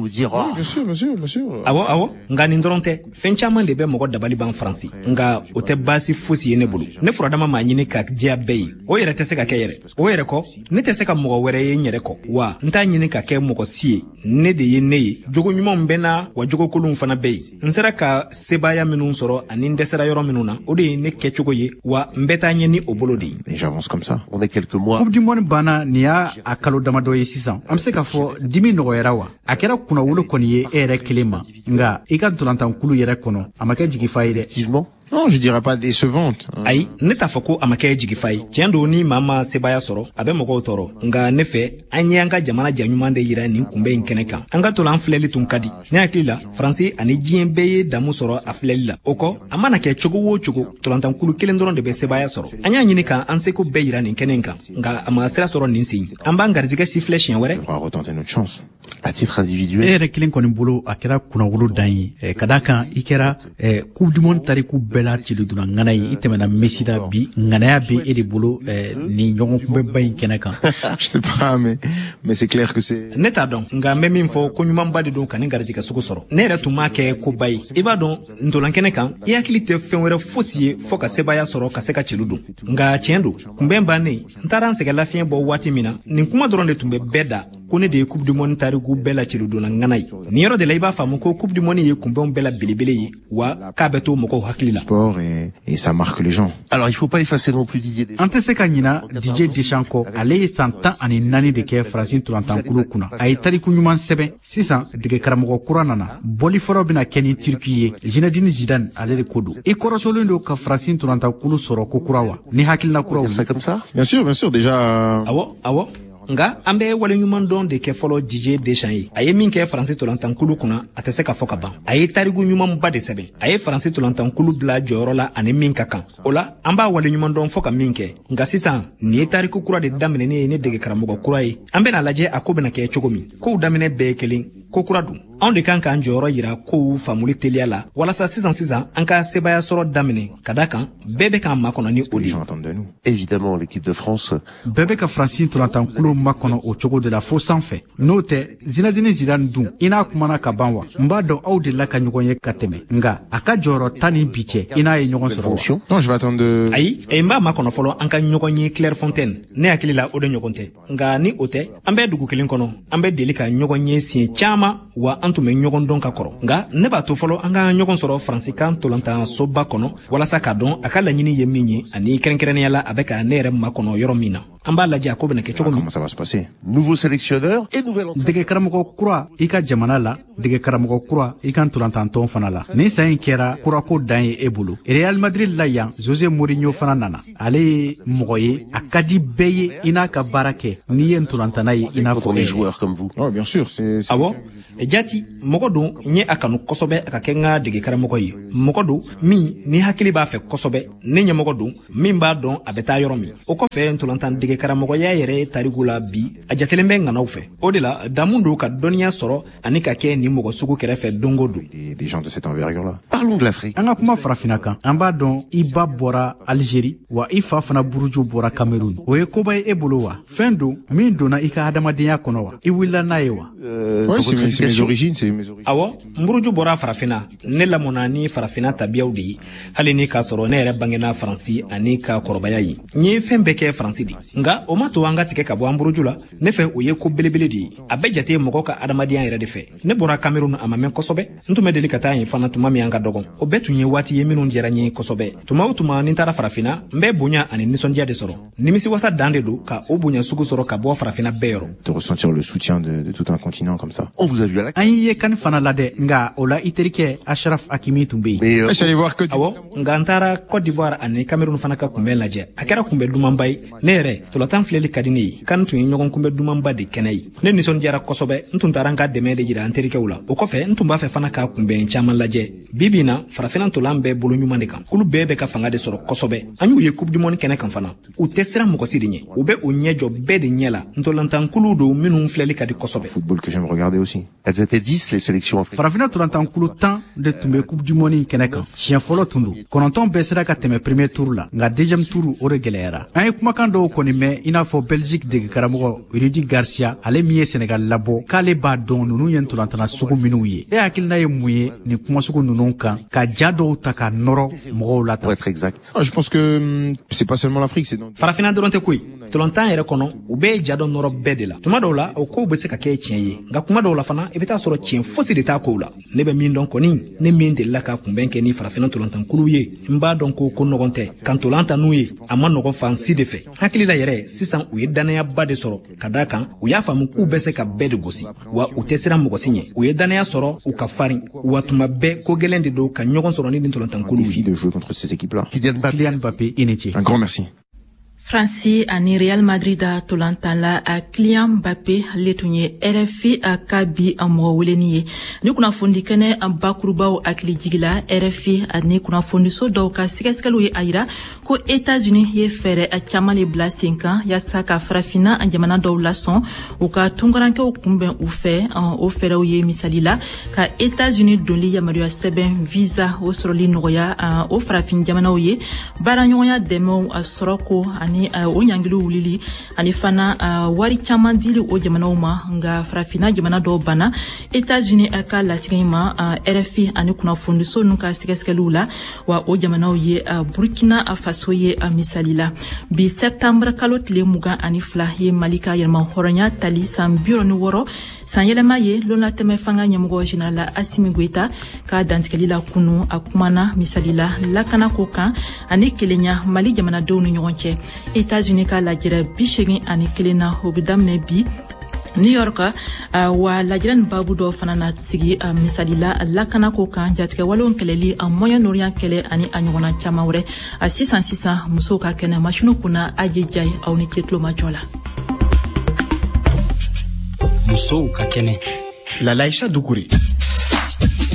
Bien sûr, bien sûr, bien sûr. Awɔ, awɔ. Nka nin dɔrɔn tɛ. Fɛn caman de bɛ mɔgɔ dabali ban Faransi. Nka o tɛ baasi fosi ye ne bolo. Ne furadama m'a ɲini ka diya bɛɛ ye. O yɛrɛ tɛ se ka kɛ yɛrɛ. O yɛrɛ kɔ, ne tɛ se ka mɔgɔ wɛrɛ ye n yɛrɛ kɔ. Wa n t'a ɲini ka kɛ mɔgɔ si ye. Ne de ye ne ye. Jogo ɲumanw bɛ n na, wa jogo kolonw fana bɛ yen. N sera ka sebaaya minnu sɔrɔ ani n dɛsɛra yɔrɔ minnu na, o de ye ne kɛcogo ye, wa n bɛ taa ɲɛ ni o bolo de ye. Et j'avance comme ça. On est quelques mois. Coupe du monde banna nin y'a a kalo damadɔ ye sisan. An bɛ se k'a fɔ dimi nɔgɔyara wa? A kɛra kunnawolo kɔni ye e yɛrɛ kelen ma, nka i ka ntolantankulu yɛrɛ kɔnɔ, a ma kɛ jigifa ye dɛ. Effectivement. Non, je dirais pas décevante. Ayi, ne t'a fɔ ko a ma kɛ jigifa ye. Tiɲɛ don, ni maa ma sebaaya sɔrɔ, a bɛ mɔgɔw tɔɔrɔ. Nka ne fɛ, an ye an ka jamana ja ɲuman de yira nin kunbɛn in kɛnɛ kan. An ka tolan filɛli tun ka di. Ne hakili la, Faransi ani diɲɛ bɛɛ ye damu sɔrɔ a filɛli la. O kɔ, a mana kɛ cogo o cogo, tolantankulu kelen dɔrɔn de bɛ sebaaya sɔrɔ. An y'a ɲini k'an seko bɛɛ yira nin kɛnɛ in kan, nka a ma sira sɔrɔ nin sen. An b'an garijɛgɛ sifilɛ siɲɛ wɛrɛ. À titre individuel. E yɛrɛ kelen kɔni bolo, a kɛra kunnawolo dan ye. Ka d'a kan i kɛra Coupe du monde tariku bɛɛ la celudonna ŋana ye. I tɛmɛna Messi la bi, ŋanaya bɛ e de bolo nin ɲɔgɔn kunbɛnba in kɛnɛ kan. Je sais pas, mais mais c'est clair que c'est. Ne t'a dɔn, nka n bɛ min fɔ, ko ɲumanba de don ka nin garijɛgɛ sugu sɔrɔ. Ne yɛrɛ tun m'a kɛ koba ye. I b'a dɔn, ntolan kɛnɛ kan, i hakili tɛ fɛn wɛrɛ fosi ye fɔ ka sebaaya sɔrɔ ka se ka celu don. Nka tiɲɛ don, kunbɛn bannen, n taara n sɛgɛn lafiɲɛ bɔ waati min na, nin kuma dɔrɔn de tun bɛ bɛɛ da, ko ne de ye Coupe du monde tariku bɛɛ la celudonna ŋana ye. Nin yɔrɔ de la i b'a faamu ko Coupe du monde ye kunbɛnw bɛɛ la belebele ye, wa k'a bɛ to mɔgɔw hakili la. Sport et, et ça marque les gens. Alors il faut pas effacer non plus Didier Deschamps. An tɛ se ka ɲina Didier Deschamps kɔ. Ale ye san tan ani naani de kɛ Faransi tolantankulu kunna. A ye tariku ɲuman sɛbɛn. Sisan dege karamɔgɔ kura nana. Bɔli fɔlɔ bɛna kɛ ni Turki ye. Zinedine Zidane ale de ko don. I kɔrɔtɔlen don ka Faransi tolantankulu sɔrɔ ko kura wa? Ni hakilina kuraw. C'est comme ça? Bien sûr, bien sûr, déjà. Awɔ, awɔ. Nka an bɛ waleɲuman dɔn de kɛ fɔlɔ Didier Deschamps ye. A ye min kɛ Faransi tolantankulu kunna, a tɛ se ka fɔ ka ban. A ye tariku ɲumanba de sɛbɛn. A ye Faransi tolantankulu bila jɔyɔrɔ la ani min ka kan. O la, an b'a waleɲuman dɔn fɔ ka min kɛ. Nka sisan, nin ye tariku kura de daminɛnen ye ni dege karamɔgɔ kura ye. An bɛna lajɛ a ko bɛna kɛ cogo min. Kow daminɛ bɛɛ ye kelen, ko kura don. Anw de kan k'an jɔyɔrɔ yira kow faamuli teliya la walasa sisan sisan an ka sebaaya sɔrɔ daminɛ, ka da kan bɛɛ bɛ k'an makɔnɔ ni o de ye. Évidemment, l'équipe de France. Bɛɛ bɛ ka Faransi ntolantankulu makɔnɔ o cogo de la fo sanfɛ. N'o tɛ, Zinedine Zidane dun, i n'a kumana ka ban wa? N b'a dɔn aw delila ka ɲɔgɔn ye ka tɛmɛ, nka a ka jɔyɔrɔ ta ni bi cɛ, i n'a ye ɲɔgɔn sɔrɔ wa? Non, je vais attendre de... Ayi, n b'a makɔnɔ fɔlɔ an ka ɲɔgɔn ye Clairefontaine. Ne hakili la o de ɲɔgɔn tɛ, nka ni o tɛ, an bɛ dugu kelen kɔnɔ, an bɛ deli ka ɲɔgɔn ye siɲɛ caman, wa an tun bɛ ɲɔgɔn dɔn ka kɔrɔ. Nka ne b'a to fɔlɔ an ka ɲɔgɔn sɔrɔ Faransikan ntolantansoba kɔnɔ walasa k'a dɔn a ka laɲini ye min ye, ani kɛrɛnkɛrɛnnenya la a bɛ ka ne yɛrɛ makɔnɔ yɔrɔ min na. An b'a lajɛ a ko bɛna kɛ cogo min. Comment ça va se passer? Nouveau sélectionneur et nouvel entraîneur. Dege karamɔgɔ kura i ka jamana la, dege karamɔgɔ kura i ka ntolantantɔn fana la. Nin san in kɛra kurako dan ye e bolo. Real Madrid la yan, Jose Mourinho fana nana. Ale ye mɔgɔ ye, a ka di bɛɛ ye i n'a ka baara kɛ n'i ye ntolantana ye i n'a fɔ les joueurs comme vous. Ouais, bien sûr, c'est Awɔ, jati mɔgɔ don n ye a kanu kosɛbɛ a ka kɛ n ka dege karamɔgɔ ye. Mɔgɔ don min ni hakili b'a fɛ kosɛbɛ. Ne ɲɛmɔgɔ don min b'a dɔn a bɛ taa yɔrɔ min. O kɔfɛ, ntolantan dege karamɔgɔya yɛrɛ tariku la bi, a jatelen bɛ ŋanaw fɛ. O de la damu don ka dɔnniya sɔrɔ ani ka kɛ nin mɔgɔ sugu kɛrɛfɛ don o don. Des, des gens de cette envergure-là. Parlons de l'Afrique. An ka kuma Farafina kan. An b'a dɔn i ba bɔra Algérie, wa i fa fana buruju bɔra Cameroun. O ye koba ye e bolo wa? Fɛn don min donna i ka adamadenya kɔnɔ wa? I wulila n'a ye wa? Euh, Ouais, dans c'est votre mes, c'est mes éducation. origines, c'est mes origines. Awɔ, n buruju bɔra Farafina. Ne lamɔna ni Farafina tabiyaw de ye, hali ni k'a sɔrɔ ne yɛrɛ bangena Faransi ani ka kɔrɔbaya ye. N ye fɛn bɛɛ kɛ Faransi de, nka o ma to an ka tigɛ ka bɔ an buruju la. Ne fɛ, o ye ko belebele de ye, a bɛ jate mɔgɔ ka adamadenya yɛrɛ de fɛ. Ne bɔra Cameroun a ma mɛn kosɛbɛ. N tun bɛ deli ka taa yen fana tuma min an ka dɔgɔn. O bɛɛ tun ye waati ye minnu diyara n ye kosɛbɛ. Tuma o tuma ni n taara Farafina, n bɛ bonya ani nisɔndiya de sɔrɔ. Nimisiwasa dan de don ka o bonya sugu sɔrɔ ka bɔ Farafina bɛɛ yɔrɔ. De ressentir le soutien de, de tout un continent comme ça. On vous a vu à la... An y'i ye CAN fana la dɛ, nka o la i terikɛ Achraf Hakimi tun bɛ yen. Mais euh, Je suis allé voir que Awɔ, nka n taara Côte d'Ivoire ani Cameroun fana ka kunbɛn lajɛ. A kɛra kunbɛn dumanba ye. Ne yɛrɛ, tolatan filɛli ka di ne ye. CAN tun ye ɲɔgɔn kunbɛn dumanba de kɛnɛ ye. Ne nisɔndiyara kosɛbɛ. N tun taara n ka dɛmɛ de jira an terikɛw la. O kɔfɛ, n tun b'a fɛ fana ka kunbɛn caman lajɛ. Bi bi in na, Farafinna ntolan bɛɛ bolo ɲuman de kan. Kulu bɛɛ bɛ ka fanga de sɔrɔ kosɛbɛ. An y'u ye Coupe du monde kɛnɛ kan fana. U tɛ siran mɔgɔ si de ɲɛ, u bɛ o ɲɛ jɔ bɛɛ de ɲɛ la. Ntolantankulu don minnu filɛli ka di kosɛbɛ. Football que j'aime regarder aussi. Elles étaient dix, les sélections africaines. Farafinna ntolantankulu tan de tun bɛ Coupe du monde in kɛnɛ kan. Siɲɛ fɔlɔ tun don. Kɔnɔntɔn bɛɛ sera ka tɛmɛ premier tour la, nka deuxième tour o de gɛlɛyara. An ye kumakan dɔw kɔni mɛn, i n'a fɔ Belgique dege karamɔgɔ Rudi Garcia, ale min ye Sénégal labɔ, k'ale b'a dɔn ninnu ye ntolantana sugu minnu ye. E hakilina ye mun ye nin kuma sugu ninnu kan, ka ja dɔw ta ka nɔrɔ mɔgɔw la Pour tan? être exact. Ah, je pense que hum, c'est pas seulement l'Afrique, c'est dans... Farafinna dɔrɔn tɛ koyi. Tolontan yɛrɛ kɔnɔ, u bɛ ja dɔ nɔrɔ bɛɛ de la. Tuma dɔw la, o kow bɛ se ka kɛ tiɲɛ ye, nka kuma dɔw la fana, i bɛ taa sɔrɔ tiɲɛ fosi de t'a kow la. Ne bɛ min dɔn kɔni, ne min delila ka kunbɛn kɛ ni Farafinna tolontankulu ye, n b'a dɔn ko ko nɔgɔn tɛ ka ntolan ta n'u ye. A ma nɔgɔn fan si de fɛ. Hakili la yɛrɛ, sisan u ye dannayaba de sɔrɔ, ka da kan u y'a faamu k'u bɛ se ka bɛɛ de gosi, wa u tɛ siran mɔgɔ si ɲɛ. U ye dannaya sɔrɔ, u ka farin, wa tuma bɛɛ ko gɛlɛn de don ka ɲɔgɔn sɔrɔ ni nin tolontankuluw Défi ye. de jouer contre ces équipes-là. Kylian Mbappé. Kylian Mbappé, i ni ce. Un grand merci. Faransi ani Real Madrid tolantan la a Kylian Mbappé, ale tun ye R F I a ka bi a mɔgɔ weleni ye. Ni kunnafoni kɛnɛ bakurubaw hakili jigila, R F I ani kunnafoniso dɔw ka sɛgɛsɛgɛliw ye a yira ko États-Unis ye fɛɛrɛ caman de bila sen kan yaasa ka Farafinna jamana dɔw lasɔn u ka tunkarankew kunbɛn u fɛ. O fɛɛrɛw ye, misali la, ka États-Unis donli yamaruya sɛbɛn visa o sɔrɔli nɔgɔya o farafin jamanaw ye, baaraɲɔgɔnya dɛmɛw sɔrɔ ko ani o ɲangiliw wulili, ani fana wari caman dili o jamanaw ma. Nga Farafinna jamana dɔw banna États-Unis ka latigɛ in ma, R F I ani kunnafoniso ninnu ka sɛgɛsɛgɛliw la, wa o jamanaw ye Burkina Faso ye misali la. Bi septembre kalo tile mugan ani fila ye Mali ka yɛlɛma hɔrɔnya tali san bi wɔɔrɔ ni wɔɔrɔ san yɛlɛma ye. Lonlatɛmɛ fanga ɲɛmɔgɔ général Assimi Goïta ka dantigɛli la kunu, a kumana misali la lakanako kan ani kelenya Mali jamanadenw ni ɲɔgɔn cɛ. États-Unis ka lajɛrɛ bi segin ani kelen na, o bɛ daminɛ bi New York, uh, wa lajɛrɛ nin babu dɔ fana na sigi, uh, misali la lakanako kan, jatigɛwalew kɛlɛli, a Moyen-Orient kɛlɛ ani a ɲɔgɔnna caman wɛrɛ. A sisan sisan, musow ka kɛnɛ masiniw kunna, aje jayi, aw ni ce tulomajɔ la. Musow ka kɛnɛ. Lalaïcha Doucouré.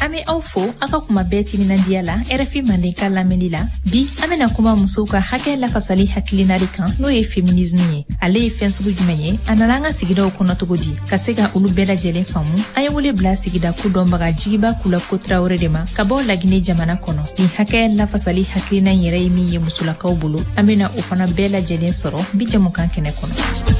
An bɛ aw fo aw ka kuma bɛɛ timinandiya la R F I Mandenkan lamɛnli la. Bi an bɛna kuma musow ka hakɛ lafasali hakilina de kan, n'o ye féminisme ye. Ale ye fɛn sugu jumɛn ye? A nana an ka sigidaw kɔnɔ cogo di? Ka se ka olu bɛɛ lajɛlen faamu, an ye wele bila sigida ko dɔnbaga Jigiba Kulako Tarawele de ma ka bɔ Lagine jamana kɔnɔ. Nin hakɛ lafasali hakilina in yɛrɛ ye min ye musolakaw bolo, an bɛna o fana bɛɛ lajɛlen sɔrɔ bi jamukan kɛnɛ kɔnɔ.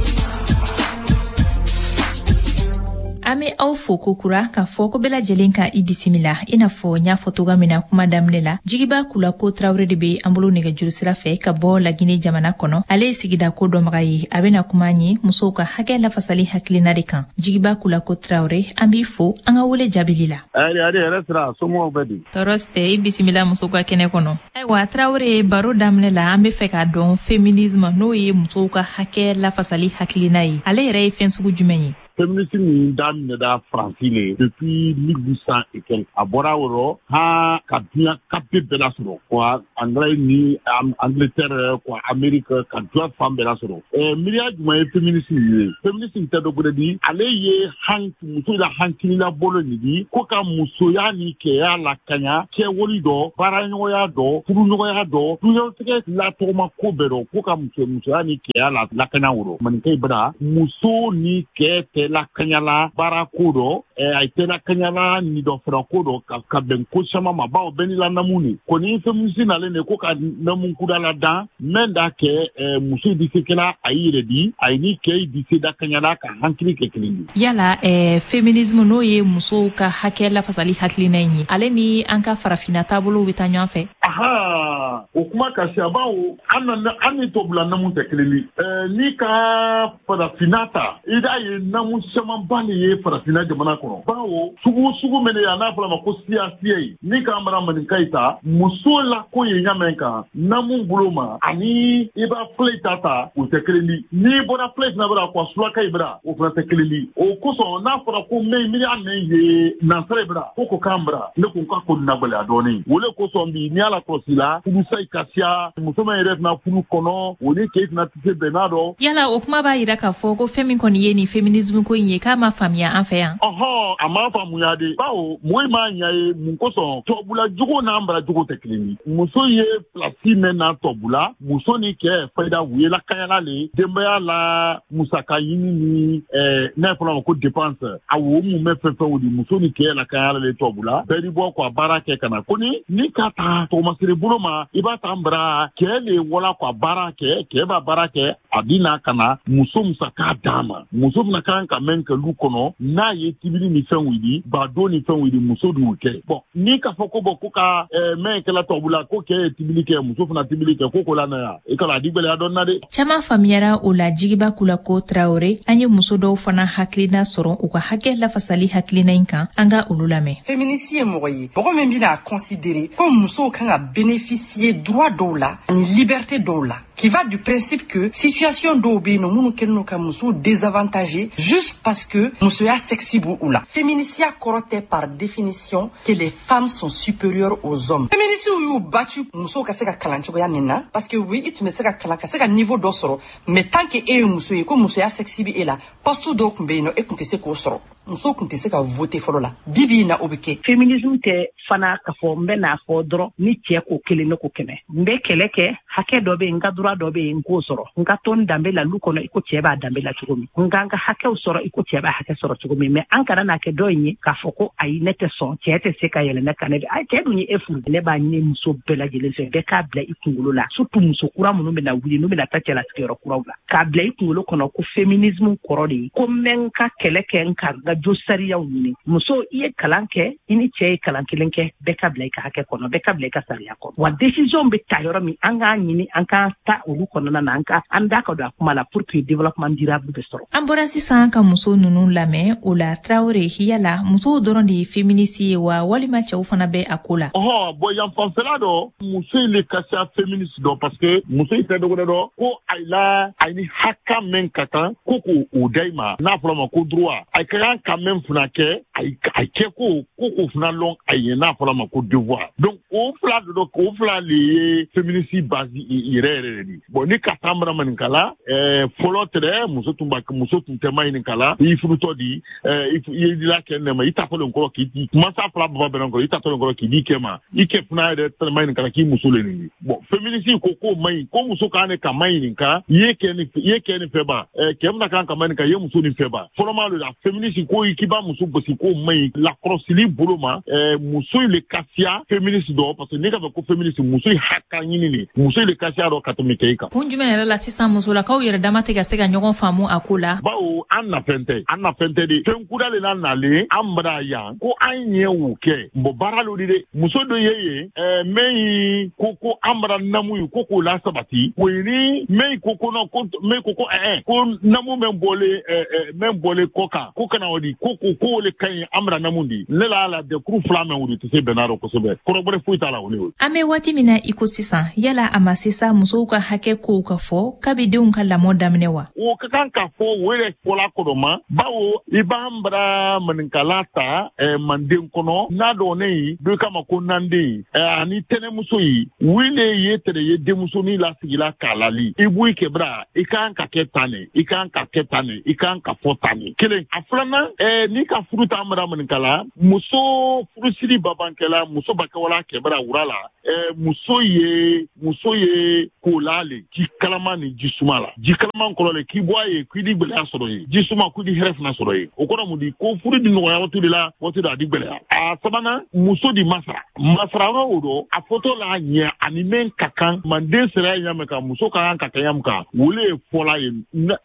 An bɛ aw fo kokura k'a fɔ ko bɛɛ lajɛlen ka i bisimila. I n'a fɔ n y'a fɔ cogoya min na kuma daminɛ la, Jigiba Kulako Tarawele de bɛ an bolo nɛgɛjuru sira fɛ ka bɔ Lagine jamana kɔnɔ. Ale ye sigida ko dɔnbaga ye. A bɛna kuma an ye musow ka hakɛ lafasali hakilina de kan. Jigiba Kulako Tarawele, an b'i fo an ka wele jaabili la. Ayi, ayi, yɛrɛ sira, somɔgɔw bɛ di? Tɔɔrɔ si tɛ, i bisimila musow ka kɛnɛ kɔnɔ. Ayiwa Tarawele, baro daminɛ la, an bɛ fɛ k'a dɔn féminisme, n'o ye musow ka hakɛ lafasali hakilina ye, ale yɛrɛ ye fɛn sugu jumɛn ye? Féminisme in daminɛna Faransi le depuis mille huit cent et quelques. A bɔra o rɔ han ka diɲɛ kape bɛɛ lasɔrɔ quoi, Anglais ni Angleterre quoi, Amérique, ka diɲɛ fan bɛɛ lasɔrɔ. Ɛɛ miiriya jumɛn ye féminisme ye? Féminisme tɛ dɔ wɛrɛ di, ale ye han muso la hankilila bolo nin di ko ka musoya ni cɛya lakanya, kɛwali dɔ, baaraɲɔgɔnya dɔ, furuɲɔgɔnya dɔ, duɲatigɛ latɔgɔma ko bɛɛ dɔ, ko ka muso musoya ni cɛya la lakanya o rɔ. Maninka bara muso ni cɛ tɛ lakanyala baara ko dɔ, a tɛ lakanyala ni dɔ fara ko dɔ ka ka bɛn ko caman ma, bawo bɛɛ n'i la namu ni kɔni. Féminisme nalen de ko ka namu kudala dan mɛn da kɛ muso di se kɛla a y'i yɛrɛ di, a ni cɛ di se da kanyala ka hankili kɛ kelen ye. Yala eh, féminisme, n'o ye musow ka hakɛ lafasali hakilina in ye, ale ni an ka farafinna taabolow bɛ taa ɲɔgɔn fɛ? Aha, o kuma ka siya, bawo an na an ni tubabula namu tɛ kelen ye. N'i ka farafinna ta, i b'a ye namu camanba de ye farafinna jamana kɔnɔ, bawo sugu sugu min ye a n'a fɔra ma ko siya siya ye. N'i k'an bara maninka yi ta, muso la ko ye ɲamɛn kan namu bolo ma ani i b'a filɛ ta ta, o tɛ kelen di. N'i bɔra filɛ fana bara quoi, sulaka yi bara, o fana tɛ kelen di. O kosɔn n'a fɔra ko mɛ miiriya mɛn ye nansara yi bara ko ko k'an bara, ne ko k'a ko nagɛlɛya dɔɔnin. O le kosɔn bi n'i y'a lakɔlɔsi la, furusa yi ka siya, muso min yɛrɛ fana furu kɔnɔ, o ni cɛ fana tɛ se bɛn n'a dɔn. Yala o kuma b'a yira k'a fɔ ko fɛn min kɔni ye nin féminisme ko in ye, k'a ma faamuya an fɛ yan? Ɔhɔn, a ma faamuya de, bawo mɔgɔ m'a ɲa ye mun kosɔn tubabula jogo n'an bara jogo tɛ kelen ye. Muso ye place mɛn na tubabula, muso ni cɛ fayida u ye lakanyala le denbaya la, musaka ɲini ni ɛɛ n'a fɔra ma ko dépense, a wo mun bɛ fɛn fɛnw di, muso ni cɛ lakanyala le tubabula, bɛɛ di bɔ quoi baara kɛ ka na. Ko ni ni ka taa tɔgɔmasere bolo ma, i b'a ta an bara cɛ le wala quoi baara kɛ, cɛ b'a baara kɛ, a bi na ka na muso musaka d'a ma. Muso fana kan ka mɛn kɛ lu kɔnɔ, n'a ye tibili ni fɛnw wuli, badon ni fɛnw wuli, muso d'u kɛ. Bon, n'i k'a fɔ ko bɔn ko ka mɛn kɛla tubabula ko cɛ ye tibili kɛ, muso fana tibili kɛ, ko ko la na yan, i kana a di gɛlɛya dɔɔnin na dɛ. Caman faamuyara o la. Jigiba Kulako Tarawele, an ye muso dɔw fana hakilina sɔrɔ u ka hakɛ lafasali hakilina in kan, an ka olu lamɛn. Féministe ye mɔgɔ ye, mɔgɔ min bɛna considérer ko musow kan ka bénéficier droit dɔw la ani liberté dɔw la, qui va du principe que situation dɔw bɛ yen nɔ minnu kɛlen don ka musow désavantager juste parce que musoya sexe b'u u la. Féminisiya kɔrɔ tɛ par définition que les femmes sont supérieures aux hommes. Féministes y'u battu musow ka se ka kalan cogoya min na, parce que oui, i tun bɛ se ka kalan ka se ka niveau dɔ sɔrɔ, mais tant que e ye muso ye ko musoya sexe bɛ e la, poste dɔw tun bɛ yen nɔ e tun tɛ se k'o sɔrɔ. Musow tun tɛ se ka voter fɔlɔ la. Bi bi in na o bɛ kɛ. Féminisme tɛ fana k'a fɔ n bɛ n'a fɔ dɔrɔn ni cɛ ko kelen ne ko kɛmɛ. N bɛ kɛlɛ kɛ, hakɛ dɔ bɛ yen, n ka droit dɔ bɛ yen, n k'o sɔrɔ. N ka to n danbe la lu kɔnɔ i ko cɛ b'a danbe la cogo min. N ka n ka hakɛw sɔrɔ i ko cɛ b'a hakɛ sɔrɔ cogo min. Mais an kana n'a kɛ dɔ in ye k'a fɔ ko ayi ne tɛ sɔn, cɛ tɛ se ka yɛlɛ ne kan, ne bɛ ayi cɛ dun ye e furu. Ne b'a ɲini muso bɛɛ lajɛlen fɛ, bɛɛ k'a bila i kunkolo la, surtout muso kura minnu bɛna wuli, n'u bɛna taa cɛlasigiyɔrɔ kuraw la, k'a bila i kunkolo kɔnɔ ko féminisme kɔrɔ de ye ko n bɛ n ka kɛlɛ kɛ, n ka n ka jo sariyaw ɲini. Muso, i ye kalan kɛ, i ni cɛ ye kalan kelen kɛ, bɛɛ ka bila i ka hakɛ kɔnɔ, bɛɛ ka bila i ka sariya kɔnɔ. Wa décision bɛ ta yɔrɔ min, an k'a ɲini an k'an ta olu kɔnɔna na, an ka an da ka don a kuma la pour que développement durable bɛ sɔrɔ. An bɔra sisan ka muso ninnu lamɛn. O la Tarawele, yala musow dɔrɔn de ye féministe ye wa, walima cɛw fana bɛ a ko la? Ɔhɔn, bɔn yan fanfɛla dɔ, muso in le ka siya féministe dɔ, parce que muso in tɛ dɔ wɛrɛ dɔ ko ayi la, ayi ni hakɛ min ka kan ko k'o da i ma, n'a fɔra ma ko droit, a ka kan ka mɛn fana kɛ a kɛ ko ko k'o fana lɔn a ye n'a fɔra ma ko devoir. Donc o fila de dɔ o fila le ye féministe base yɛrɛ yɛrɛ de di. Bon ni ka taa bara maninkala ɛɛ fɔlɔ tɛrɛ muso tun ba muso tun tɛ ma ɲininkala i furutɔ di ɛɛ i ye la kɛ ne ma i ta fɔlen kɔrɔ k'i di mansa fila baba bɛnna kɔrɔ i ta fɔlen kɔrɔ k'i di kɛ ma i kɛ fana yɛrɛ tɛ ma ɲininkala k'i muso le nin. Bon féministe ko k'o man ɲi ko muso kan ne ka ma ɲininka i ye kɛ ni i ye kɛ ni fɛ ba ɛɛ kɛ bɛna kan ka ma ɲininka i ye muso ni fɛ ba fɔlɔma le la féministe ko k'i b'a muso gosi k'o man ɲi lakɔlɔsili bolo ma ɛɛ muso in le ka siya féministe dɔ parce que ne ka fɔ ko féministe muso in hakɛ ɲini de muso in le ka siya dɔ ka tɛmɛ kɛ i kan. Kun jumɛn yɛrɛ la sisan musolakaw yɛrɛ dama tɛ ka se ka ɲɔgɔn faamu a ko la? Bawo an nafɛn tɛ an nafɛn tɛ de fɛn kura le la nalen an bara yan ko an ɲɛ o kɛ bon baara lo di dɛ muso dɔ ye yen ɛɛ min ye ko ko an bara namu ye ko k'o la sabati o ye ni min ko ko non ko min ko ko ɛɛ ko namu min bɔlen ɛɛ min bɔlen kɔ kan ko kana o di ko ko k'o le ka ɲi an bara namu di ne la la dɛkuru fila mɛn o de tɛ se bɛnna rɔ kosɛbɛ kɔrɔbɔrɔ foyi t'a la o ne o. An bɛ waati min na i ko sisan yala a ma se sa musow ka hakɛ kow ka fɔ kabi denw ka lamɔ daminɛ wa? O ka kan ka fɔ o yɛrɛ fɔla kɔrɔma bawo i b'an bara maninkala ta ɛɛ manden kɔnɔ n'a dɔn ne ye dɔ kama ko nanden ɛɛ ani tɛnɛmuso ye wele ye tɛrɛ ye denmusonin lasigila k'a lali i b'o kɛ bara i kan ka kɛ tan ne i kan ka kɛ tan ne i kan ka fɔ tan ne kelen a filanan ɛɛ n'i ka furu t'an bara maninkala muso furusiri babankɛla muso bakɛwala kɛbara wura la ɛɛ muso ye muso ye kola le ji kalama ni ji suma la ji kalaman kɔrɔ le k'i bɔ a ye k'i di gɛlɛya sɔrɔ ye ji suma k'i di hɛrɛ fana sɔrɔ ye o kɔrɔ mun di ko furu di nɔgɔya waati de la waati dɔ a di gɛlɛya a sabanan muso di masara masara yɔrɔ o dɔ a fɔtɔ la ɲɛ ani mɛn ka kan manden sera ɲa min kan muso ka kan ka kɛ ɲa min kan wole ye fɔla ye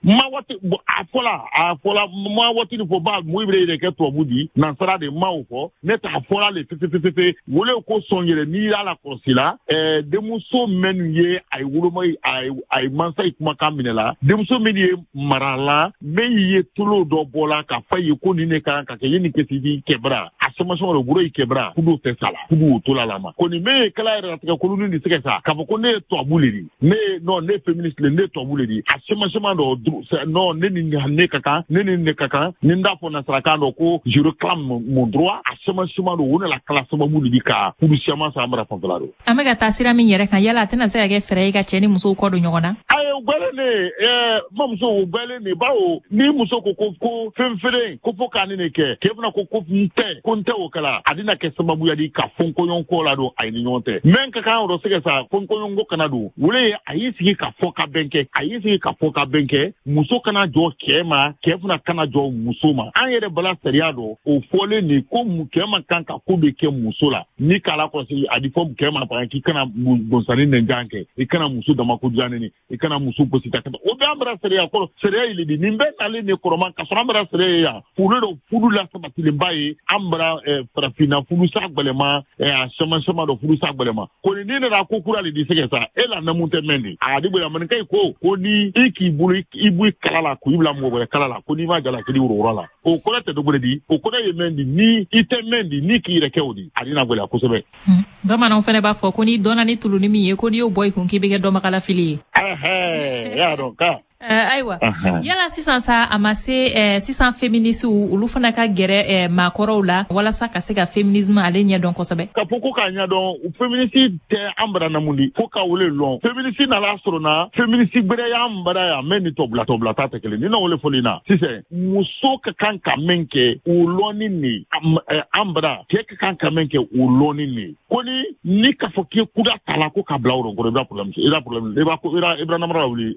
ma waati a fɔla a fɔla ma waati ni fɔ ba mun bɛ yɛrɛ kɛ tubabu di nansara de ma o fɔ ne t'a fɔla le fefefefefe wole ko sɔn yɛrɛ n'i y'a lakɔlɔsi la ɛɛ denmuso minnu ye a ye woloma a ye a ye mansa ye kumakan minɛ la denmuso min ye mara la min ye tolo dɔ bɔ la k'a fɔ ye ko nin de kan ka kɛ ye nin kɛ di kɛbara a sɔmasɔn de bolo yi kɛbara kudu tɛ sa la kudu to la la ma ko nin min ye kala yɛrɛ latigɛ koloni de sɛgɛ sa k'a fɔ ko ne ye tubabu le di ne ye non ne ye féministe le ne ye tubabu le di a sɔmasɔn dɔ non ne ni ne ka kan ne ni ne ka kan ni n t'a fɔ nasarakan dɔ ko je réclame mon droit a sɔmasɔn dɔ o ne la kala sababu de di ka kudu siaman san mara fanfɛla do. An bɛ ka taa sira min yɛrɛ kan yala a tɛna se ka kɛ fɛɛrɛ ye ka cɛ ni musow kɔ don ɲɔgɔn na? Ayi o gbɛlen de ɛɛ mamuso o gbɛlen de bawo ni muso ko ko ko fɛn feere ko fo k'a ni ne kɛ k'e fana ko ko n tɛ ko n tɛ o kɛla a bɛna kɛ sababuya di ka fɔnkɔɲɔgɔnkɔ la don a ye ni ɲɔgɔn tɛ mɛ ka kan yɔrɔ sɛgɛ sa fɔnkɔɲɔgɔnkɔ kana don wele a y'i sigi ka fɔ ka bɛn kɛ a y'i sigi ka fɔ ka bɛn kɛ muso kana jɔ cɛ ma cɛ fana kana jɔ muso ma an yɛrɛ bala sariya dɔ o fɔlen de ko cɛ man kan ka ko bɛ kɛ muso la ni k'a lakɔlɔsi a di fɔ cɛ ma par exemple k'i kana gonsani nɛnjan kɛ i kana muso damako diya neni i kana muso gosi ka tɛmɛ o bɛɛ an bara sariya kɔrɔ sariya yɛlɛ di nin bɛɛ nalen de kɔrɔma ka sɔrɔ an bara sariya ye yan furu dɔ furu la sabatilenba ye an bara farafinna furusa gbɛlɛma a caman caman dɔ furusa gbɛlɛma ko ni ne nana ko kura le di sɛgɛ sa e la namu tɛ mɛn de a di bonya maninka ko ko ni i k'i bolo i b'i kala la k'i bila mɔgɔ wɛrɛ kala la ko n'i ma jala k'i woro la o kɔrɔ tɛ dɔgɔrɛ di o kɔrɔ ye mɛn di ni i tɛ mɛn di ni k'i yɛrɛ kɛ o di a dina gɛlɛya kosɛbɛ. Bamananw fana b'a fɔ ko n'i dɔnna ni tuluni min ye ko n'i y'o bɔ i kun k'i bɛ kɛ dɔnbagalafili ye. Ɛhɛn y'a dɔn ka. Ayiwa yala sisan sa a ma se sisan féministes olu fana ka gɛrɛ maakɔrɔw la walasa ka se ka féminisme ale ɲɛdɔn kosɛbɛ. Ka fɔ ko k'a ɲɛdɔn féministe tɛ an bara namu di fo ka wele lɔn féministe nana sɔrɔ na féministe gbɛrɛ y'an bara yan mɛ ni tɔbila tɔbila ta tɛ kelen ni na wele fɔli na sisan muso ka kan ka min kɛ o lɔnni ni an bara cɛ ka kan ka min kɛ o lɔnni ni ko ni ni k'a fɔ k'i kuda ta la ko ka bila o kɔrɔ i b'a problème i b'a problème i b'a i b'a namara wuli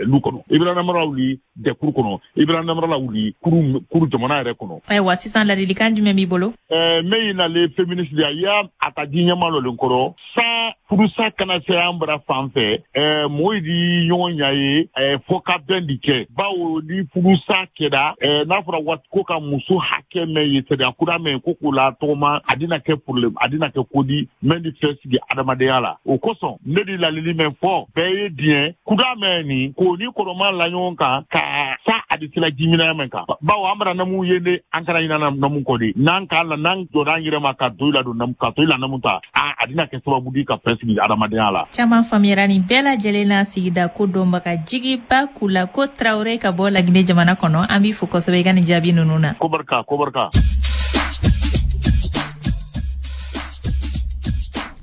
lu kɔnɔ i bɛ namara wuli dɛkuru kɔnɔ i bɛ namara wuli kuru kuru jamana yɛrɛ kɔnɔ. Ayiwa sisan ladilikan jumɛn b'i bolo? Ɛɛ min ye nalen féministe de ye a y'a a ka di ɲɛma lɔlen kɔrɔ san furusa kana se an bara fan fɛ ɛɛ mɔgɔw di ɲɔgɔn ɲa ye ɛɛ fɔ ka bɛn de kɛ bawo ni furusa kɛra ɛɛ n'a fɔra waati ko ka muso hakɛ mɛn ye sariya kura mɛn ko k'o la tɔgɔma a dina kɛ problème a dina kɛ ko di mɛn di fɛn sigi adamadenya la o kosɔn ne di lalili mɛn fɔ bɛɛ ye diɲɛ kuda mɛn nin k'o ni kɔrɔma la ɲɔgɔn kan ka sa a di sila jiminaya min kan bawo an bara namu ye ne an kana ɲina namu kɔ de n'an k'a la n'an jɔra an yɛrɛ ma ka to i la don namu ka to i la namu ta a a dina kɛ sababu di ka fɛn sigi adamadenya la. Caman faamuyara nin bɛɛ lajɛlen na sigida ko dɔnbaga Jigiba Kulako Tarawele ka bɔ Laginɛ jamana kɔnɔ. An b'i fo kosɛbɛ i ka nin jaabi ninnu na. Ko barika, ko barika.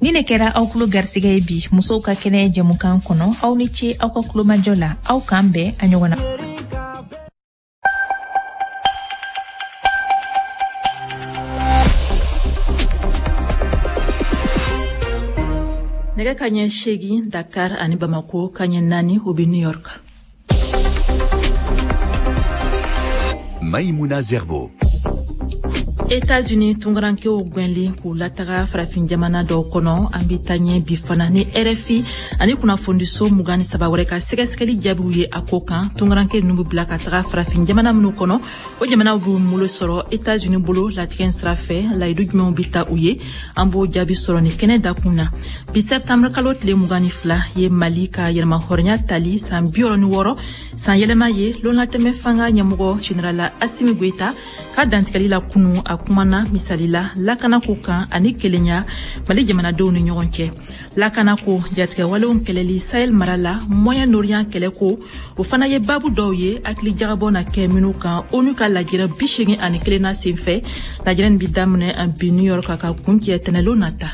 Ni ne kɛra aw kulo garisɛgɛ ye bi musow ka kɛnɛ jɛmukan kɔnɔ. Aw ni ce aw ka kulomajɔ la. Aw k'an bɛn a ɲɔgɔn na. Nɛgɛ ka ɲɛ seegin Dakar ani Bamako, ka ɲɛ naani o bɛ New York. Maïmouna Zerbo. États-Unis tunkarankew gwɛnlen k'u lataga farafin jamana dɔw kɔnɔ. An bɛ taa ɲɛ bi fana ni R F I ani kunnafonidiso mugan ni saba wɛrɛ ka sɛgɛsɛgɛli jaabiw ye a ko kan. Tunkaranke ninnu bɛ bila ka taga farafin jamana minnu kɔnɔ, o jamanaw b'u bolo sɔrɔ États-Unis bolo latigɛ sira fɛ. Layidu jumɛnw bɛ ta u ye? An b'o jaabi sɔrɔ ni kɛnɛ dakun na. Bi septembre kalo tile mugan ni fila ye Mali ka yɛrɛmahɔrɔnya tali san bi wɔɔrɔ ni wɔɔrɔ san yɛlɛma ye. Lonlatɛmɛ fanga ɲɛmɔgɔ général Assimi Goïta ka dantigɛli la kunu, a kumana misali la lakanako kan ani kelenya Mali jamanadenw ni ɲɔgɔn cɛ. Lakanako, jatigɛwalew kɛlɛli Sahel mara la, Moyen-Orient kɛlɛko, o fana ye babu dɔw ye hakili jagabɔ na kɛ minnu kan ONU ka lajɛrɛ bi seegin ani kelen na senfɛ. Lajɛrɛ nin bi daminɛ bi New York ka kuncɛ tɛnɛlon nata.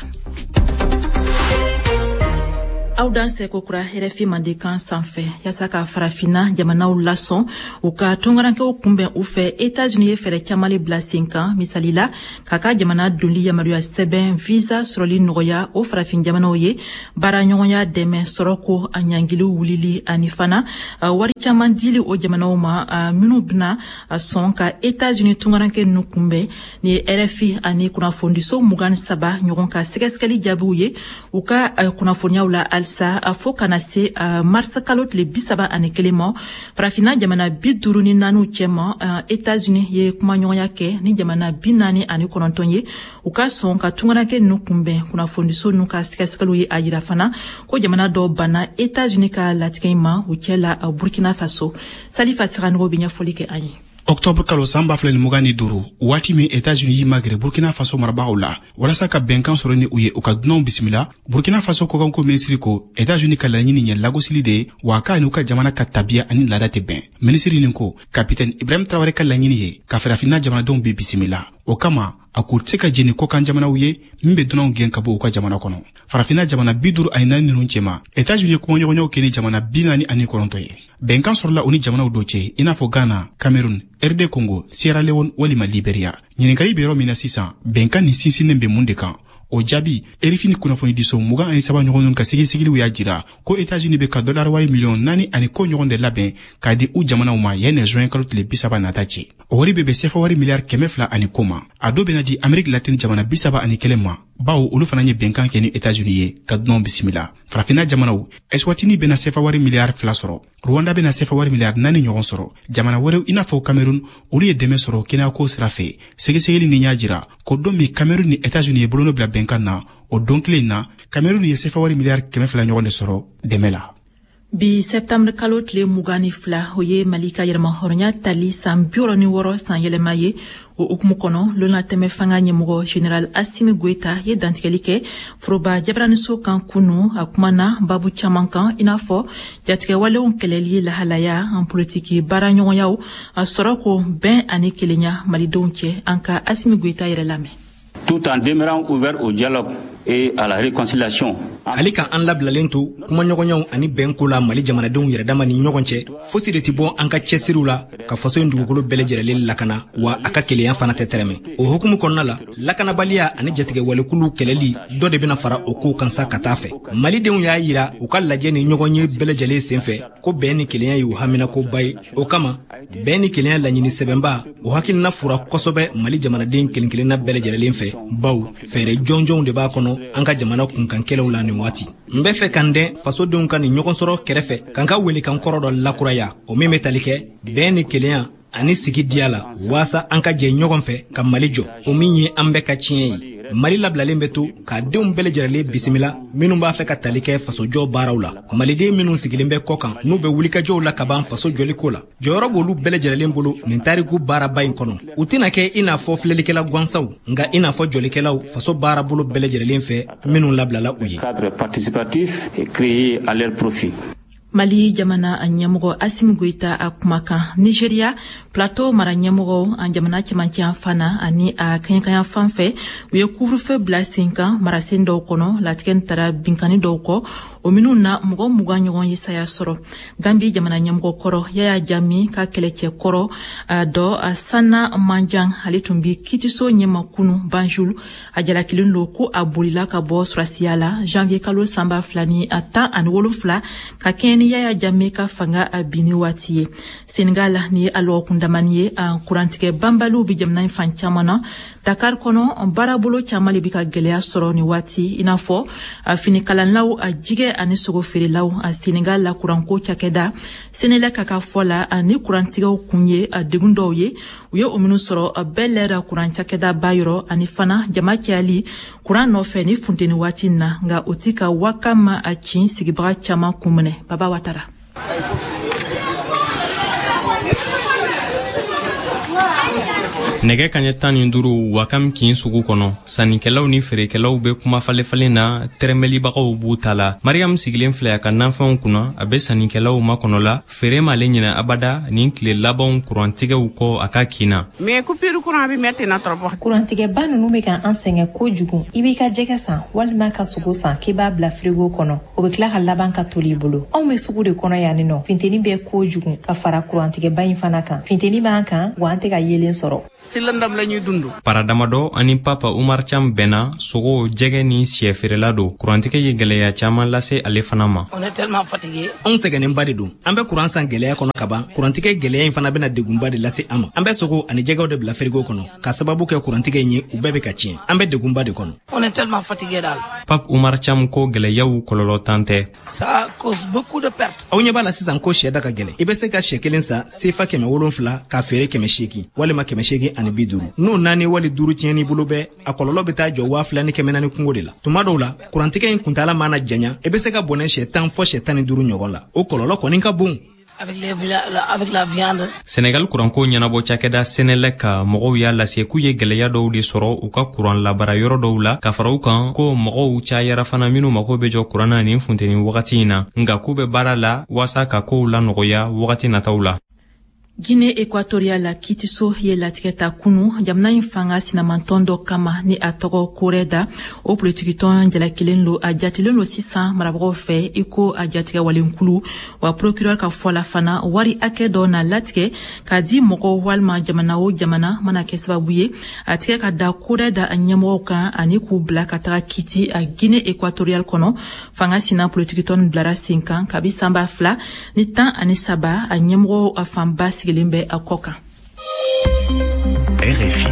Aw dan seko kura R F I Mandenkan sanfɛ. Yaasa ka farafinna jamanaw lasɔn u ka tunkarankew kunbɛn u fɛ, États-Unis ye fɛɛrɛ caman le bila sen kan. Misali la, k'a ka jamana donli yamaruya sɛbɛn visa sɔrɔli nɔgɔya o farafin jamanaw ye, baaraɲɔgɔnya dɛmɛ sɔrɔko a ɲangiliw wulili ani fana wari caman dili o jamanaw ma minnu bɛna sɔn ka États-Unis tunkaranke ninnu kunbɛn. Ni ye R F I ani kunnafonidiso mugan ni saba ɲɔgɔn ka sɛgɛsɛgɛli jaabiw ye u ka kunnafoniyaw la halisa fo kana se mars kalo tile bi saba ani kelen ma. Farafinna jamana bi duuru ni naaniw cɛma, États-Unis ye kumaɲɔgɔnya kɛ ni jamana bi naani ani kɔnɔntɔn ye u ka sɔn ka tunkaranke ninnu kunbɛn. Kunnafonidiso ninnu ka sɛgɛsɛgɛliw ye a yira fana ko jamana dɔw banna États-Unis ka latigɛ in ma, u cɛ la Burkina Faso. Salifa Saganogo bɛ ɲɛfɔli kɛ an ye. Octobre kalo san ba fila ni mugan ni duuru, waati min États-Unis y'i magɛrɛ Burkina Faso marabagaw la walasa ka bɛnkan sɔrɔ ni u ye u ka dunanw bisimila, Burkina Faso kɔkanko minisiri ko États-Unis ka laɲini ye lagosili de ye, wa k'a n'u ka jamana ka tabiya ani laada tɛ bɛn. Minisiri nin ko kapitɛni Ibrahim Traoré ka laɲini ye ka farafinna jamanadenw bɛɛ bisimila. O kama a k'u tɛ se ka jɛn ni kɔkan jamanaw ye min bɛ dunanw gɛn ka bɔ u ka jamana kɔnɔ. Farafinna jamana bi duuru ani naani ninnu cɛma, États-Unis ye kumaɲɔgɔnyaw kɛ ni jamana bi naani ani kɔnɔntɔn ye. Bɛnkan sɔrɔla u ni jamanaw dɔ cɛ i n'a fɔ Ghana, Cameroun, R D Congo, Sierra Leone walima Liberia. Ɲininkali bɛ yɔrɔ min na sisan, bɛnkan nin sinsinnen bɛ mun de kan? O jaabi, R F I ni kunnafonidiso mugan ani saba ɲɔgɔn ka sɛgɛsɛgɛliw y'a jira ko États-Unis bɛ ka dollar wari miliyɔn naani ani kɔ ɲɔgɔn de labɛn k'a di u jamanaw ma yanni juin kalo tile bi saba nata cɛ. O wari bɛ bɛn sefa wari miliyari kɛmɛ fila ani kɔ ma. A dɔ bɛna di Amérique latine jamana bi saba ani kelen ma, bawo olu fana ye bɛnkan kɛ ni États-Unis ye ka dunanw bisimila. Farafinna jamanaw, Eswatini bɛna sefa wari miliyari fila sɔrɔ, Rwanda bɛna sefa wari miliyari naani ɲɔgɔn sɔrɔ. Jamana wɛrɛw i n'a fɔ Cameroun, olu ye dɛmɛ sɔrɔ kɛnɛyako sira fɛ. Sɛgɛsɛgɛli nin y'a jira ko don min Cameroun ni États-Unis ye bolonɔ bila bɛnkan na, o don kelen in na, Cameroun ye sefa wari miliyari kɛmɛ fila ɲɔgɔn de sɔrɔ dɛmɛ la. Bi septembre kalo tile mugan ni fila, o ye Mali ka yɛrɛmahɔrɔnya tali san bi wɔɔrɔ ni wɔɔrɔ san yɛlɛma ye. O hukumu kɔnɔ, lonatɛmɛ fanga ɲɛmɔgɔ général Assimi Goïta ye dantigɛli kɛ foroba jabaraniso kan kunu. A kumana babu caman kan i n'a fɔ jatigɛwalew kɛlɛli lahalaya, an politiki baaraɲɔgɔnyaw, a sɔrɔ ko bɛn ani kelenya malidenw cɛ. An ka Assimi Goïta yɛrɛ lamɛn. Tout en demeurant ouvert au dialogue et à la réconciliation. Ale ka an labilalen to kumaɲɔgɔnyaw ani bɛnko la Mali jamanadenw yɛrɛdama ni ɲɔgɔn cɛ, fosi de tɛ bɔ an ka cɛsiriw la ka faso in dugukolo bɛɛ lajɛlen lakana, wa a ka kelenya fana tɛ tɛrɛmɛ. O hukumu kɔnɔna la, lakanabaliya ani jatigɛwalekulu kɛlɛli dɔ de bɛna fara o kow kan sa ka taa fɛ. Malidenw y'a yira u ka lajɛ ni ɲɔgɔn ye bɛɛ lajɛlen senfɛ ko bɛn ni kelenya y'u haminakoba ye. O kama, bɛn ni kelenya laɲini sɛbɛnba o hakilina fura kosɛbɛ Mali jamanaden kelen kelenna bɛɛ lajɛlen fɛ, bawo fɛɛrɛ jɔnjɔnw de b'a kɔnɔ an ka jamana kunkankɛlɛw la nin waati. N bɛ fɛ ka n dɛn fasodenw ka nin ɲɔgɔn sɔrɔ kɛrɛfɛ ka n ka welekan kɔrɔ dɔ lakuraya, o min bɛ tali kɛ bɛn ni kelenya ani sigi diya la, waasa an ka jɛ ɲɔgɔn fɛ ka Mali jɔ, o min ye an bɛɛ ka tiɲɛ ye. Mali labilalen bɛ to k'a denw bɛɛ lajɛlen bisimila minnu b'a fɛ ka tali kɛ fasojɔ baaraw la. Maliden minnu sigilen bɛ kɔ kan, n'u bɛ wulikajɔw la ka ban faso jɔliko la, jɔyɔrɔ b'olu bɛɛ lajɛlen bolo nin tariku baaraba in kɔnɔ. U tɛna kɛ i n'a fɔ filɛlikɛla gansanw, nka i n'a fɔ jɔlikɛlaw faso baarabolo bɛɛ lajɛlen fɛ minnu labilala u ye. Cadre participatif est créé à leur profit. Mali jamana a ɲɛmɔgɔ Assimi Goïta a kumakan. Nigeria Plateau mara ɲɛmɔgɔ an jamana cɛmancɛ fana ani a kɛɲɛkanya fan fɛ, u ye couvre-feu bila sen kan marasen dɔw kɔnɔ. Latigɛ taara binkani dɔw kɔ, o minnu na mɔgɔ mugan ɲɔgɔn ye saya sɔrɔ. Gambi jamana ɲɛmɔgɔ kɔrɔ Yaya Jammeh ka kɛlɛcɛ kɔrɔ dɔ Sanna Manjang, ale tun bi kitiso ɲɛma kunu Banjul. A jalakilen don ko a bolila ka bɔ surasiya la janvier kalo san ba fila ni a tan ani wolonfila ka kɛɲɛ ni Yaya Jammeh ka fanga a binni waati ye. Senegal ni ye a lɔgɔkun damani ye, a kurantigɛ banbaliw bi jamana in fan caman na. Dakar kɔnɔ baarabolo caman le bi ka gwɛlɛya sɔrɔ ni waati, i n'a fɔ a finikalanlaw, a jigɛ ani sogo feerelaw. A Senegal la kuranko cakɛda Senelec ka ka fɔ la, ani kurantigɛw kun ye a degun dɔw ye u ye o minnu sɔrɔ bɛɛ lɛra kuran cakɛda ba yɔrɔ, ani fana jama cayali kuran nɔfɛ ni funteni waati na, nka o ti ka waka ma a cin sigibaga caman kun minɛ. Baba Watara. Nɛgɛ kaɲɛ tan ni duuru Wakam kin sugu kɔnɔ, sannikɛlaw ni feerekɛlaw bɛ kuma falefalen na, tɛrɛmɛlibagaw b'u ta la. Mariam sigilen filɛ a ka nafɛnw kunna, a bɛ sannikɛlaw makɔnɔ la. Feere m'ale ɲinɛ abada nin tile labanw kurantigɛw kɔ a ka kin na. Mais coupure courant bɛ mɛn ten na trop. Kurantigɛba ninnu bɛ ka an sɛgɛn kojugu. I b'i ka jɛgɛ san walima ka sogo san k'i b'a bila frigo kɔnɔ, o bɛ tila ka laban ka toli i bolo. Anw bɛ sugu de kɔnɔ yan nɔ, funteni bɛ kojugu ka fara kurantigɛba in fana kan. Funteni b'an kan wa an tɛ ka yeelen sɔrɔ. Para damadɔ ani Papa Umar Cham bɛnna sogo, jɛgɛ ni siyɛ feerela don. Kurantigɛ ye gwɛlɛya caman lase ale fana ma. Anw sɛgɛnnenba de don. An bɛ kuran san gwɛlɛya kɔnɔ ka ban. Kurantigɛ gwɛlɛya in fana bɛna degunba de lase an ma. An bɛ sogo ani jɛgɛw de bila firigo kɔnɔ ka sababu kɛ kurantigɛ in ye, u bɛɛ bɛ ka tiɲɛ. An bɛ degunba de kɔnɔ. Papa Umar Cham ko gwɛlɛyaw kɔlɔlɔ tan tɛ. Aw ɲɛ b'a la sisan ko siyɛ da ka gɛlɛn. I bɛ se ka siyɛ kelen san sefa kɛmɛ wolonfila k'a feere kɛmɛ seegin walima kɛmɛ seegin ani bi duuru. N'o naani wali duuru tiɲɛn'i bolo bɛɛ, a kɔlɔlɔ bɛ taa jɔ waa fila ni kɛmɛ naani kungo de la. Tuma dɔw la kurantigɛ in kuntaala mana janya, i bɛ se ka bɔnɛ siyɛ tan fɔ siyɛ tan ni duuru ɲɔgɔn la. O kɔlɔlɔ kɔni ka bon. Senegal kuranko ɲɛnabɔ cakɛda Senelec ka mɔgɔw y'a lase k'u ye gwɛlɛya dɔw de sɔrɔ u ka kuran labara yɔrɔ dɔw la, ka fara u kan ko mɔgɔw cayara fana minnu mago bɛ jɔ kuran na nin funteni wagati in na, nka k'u bɛ baara la waasa ka kow lanɔgɔya wagati nataw la. Guinée équatoriale la kitiso ye latigɛ ta kunu jamana in fanga sinamantɔn dɔ kama ni a tɔgɔ Koreda. O politikitɔn jalakilen lo, a jatilen lo sisan marabagaw fɛ i ko a jatigɛ walenkulu. Wa procureur ka fɔ la fana, wari hakɛ dɔ na latigɛ k'a di mɔgɔw walima jamana o jamana mana kɛ sababu ye a tigɛ ka da Koreda a ɲɛmɔgɔw kan ani k'u bila ka taga kiti a Guinée équatoriale kɔnɔ. Fanga sina politikitɔn bilara sen kan kabi san ba fila ni tan ani saba, a ɲɛmɔgɔw a fanba sigilen bɛ a kɔ kan. R F I.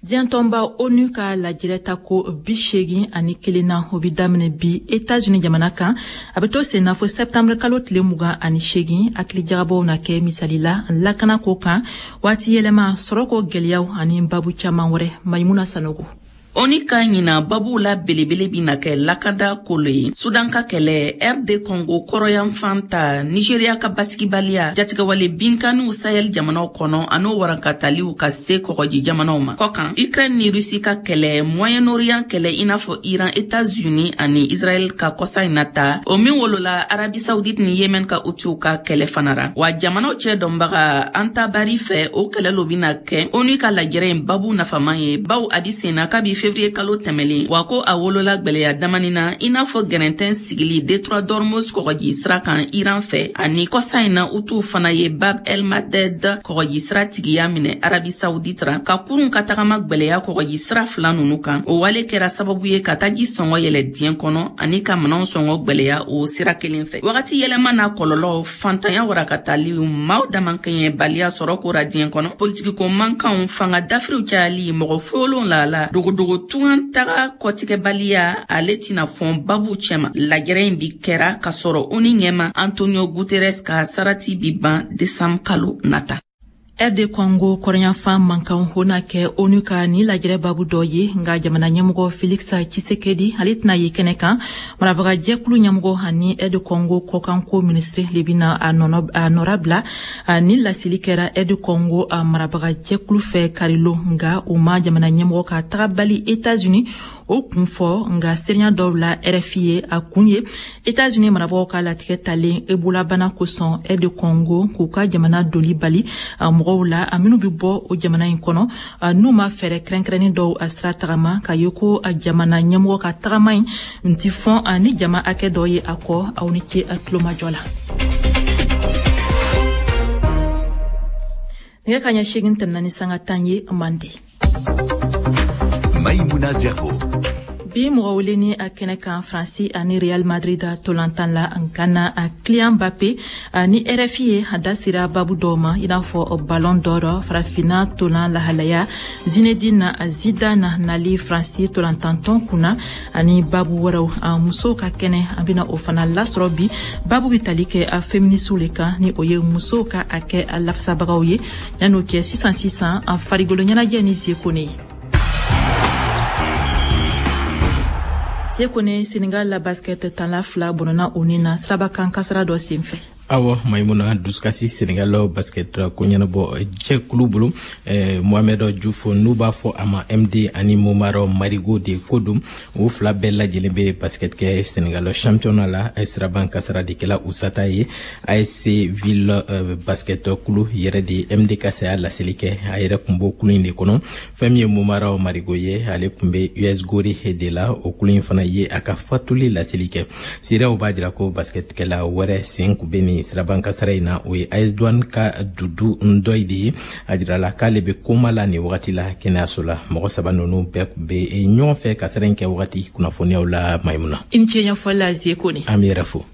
Diɲɛ tɔnba ONU ka lajɛrɛ ta ko bi seegin ani kelen na, o bi daminɛ bi États-Unis jamana kan. A bɛ to sen na fo septembre kalo tile mugan ani seegin. Hakilijagabɔw na kɛ misali la lakana ko kan, waati yɛlɛma, sɔrɔko gwɛlɛyaw ani babu caman wɛrɛ. Maimuna Sanogo. ONU ka ɲina babuw la belebele bina kɛ lakanda kolo ye. Sudan ka kɛlɛ, R D Congo kɔrɔyanfan ta, Nigeria ka basigibaliya, jatigɛwale binkanniw Sahel jamanaw kɔnɔ an'o warankataliw ka se kɔgɔji jamanaw ma. Kɔkan, Ukraine ni Russie ka kɛlɛ, Moyen-Orient kɛlɛ i n'a fɔ Iran, États-Unis ani Israël ka kɔsa in na ta, o min wolola Arabie Saoudite ni Yemen ka Houthis ka kɛlɛ fana ra. Wa jamanaw cɛ dɔnbaga Antabari fɛ, o kɛlɛ lo bina kɛ ONU ka lajɛrɛ in babu nafaman ye, baw a bi sen na kabi février kalo tɛmɛlen. Wa ko a wolola gwɛlɛya damani na i n'a fɔ gɛrɛntɛn sigili détroit d'Ormuz kɔgɔji sira kan Iran fɛ, ani kɔsa in na Hutu fana ye Bab el Mandeb kɔgɔji sira tigiya minɛ Arabie Saoudite ra, ka kurun ka tagama gwɛlɛya kɔgɔji sira fila nunu kan. O wale kɛra sababu ye ka taji sɔngɔ yɛlɛ diɲɛ kɔnɔ ani ka minɛnw sɔngɔ gwɛlɛya o sira kelen fɛ. Wagati yɛlɛma n'a kɔlɔlɔ, fantanya warakataliw, maaw damankɛɲɛbaliya sɔrɔ kora diɲɛ kɔnɔ, politikiko mankanw, fanga dafiriw cayali, mɔgɔ folon lala, dogodogo tungan taga kɔtigɛbaliya, ale tɛna fɔn babu cɛma. Lajɛrɛ in bi kɛra k'a sɔrɔ ONU ɲɛma Antonio Guterres ka sarati bi ban décembre kalo nata. R D Congo kɔrɔnyanfan mankan o na kɛ ONU ka ni lajɛrɛ babu dɔ ye, nka jamana ɲɛmɔgɔ Felix Tshisekedi, ale tɛna ye kɛnɛ kan. Marabaga jɛkulu ɲɛmɔgɔ ani R D Congo kɔkanko minisiri le bɛna a nɔra bila. Ni laseli kɛra R D Congo a marabaga jɛkulu fɛ karilon, nka u ma jamana ɲɛmɔgɔ ka tagabali États-Unis o kun fɔ. Nka seereya dɔw la R F I ye, a kun ye États-Unis marabagaw ka latigɛ talen Ebola bana kosɔn R D Congo k'u ka jamana doli bali mɔgɔw la a minnu bɛ bɔ o jamana in kɔnɔ, n'u ma fɛɛrɛ kɛrɛnkɛrɛnnen dɔw a sira tagama. K'a ye ko jamana ɲɛmɔgɔ ka tagama in ti fɔn ni jama hakɛ dɔ ye a kɔ. Aw ni ce a tulomajɔ la. Nɛgɛ ka ɲɛ seegin tɛmɛna ni sanga tan ye mande. Maïmouna Zerbo. Bi mɔgɔ wele ni a kɛnɛ kan, Faransi ani Real Madrid tolantan la Gana a Kylian Mbappé ni R F I ye, a da sera babu dɔw ma, i n'a fɔ Ballon d'Or, farafinna tolan lahalaya, Zinedine Zidane nali Faransi tolantantɔn kunna ani babu wɛrɛw. A musow ka kɛnɛ, an bɛna o fana lasɔrɔ bi. Babu bɛ tali kɛ a féministes le kan, ni o ye musow ka hakɛ a lafasabagaw ye. Yan'o kɛ, sisan sisan, a farikolo ɲɛnajɛ ni Sekone ye. Sekone, Senegal la basket tanla fila bɔnna u ni na sirabakan kasara dɔ senfɛ. Awɔ Maimuna, dusukasi Senegal basket ko ɲɛnabɔ jɛkulu bolo. eh, mohamed Diouf, n'u b'a fɔ a ma M D, ani Momar Marigo de ko don. O fila bɛɛ lajɛlen bɛ basket kɛ Senegal championnat la. Siraban kasara de kɛla u sata ye. A S Ville euh, basket kulu yɛrɛ de M D ka saya laseli kɛ. A yɛrɛ kun b'o kulu in de kɔnɔ. Fɛn min ye Momar Marigo ye, ale kun bɛ U S Gorée de la. O kulu in fana ye a ka fatuli laseli kɛ. Seerew b'a jira ko basketkɛla wɛrɛ sen kun bɛ nin siraban kasara in na, o ye A S Douane ka Dudu Ndɔyi de ye. A jirala k'ale bɛ koma la nin wagati la kɛnɛyaso la. Mɔgɔ saba ninnu bɛɛ bɛ ɲɔgɔn fɛ kasara in kɛ wagati kunnafoniyaw la, Maimuna. I ni ce ɲɛfɔli la, Zekone. An bɛ yɛrɛ fo.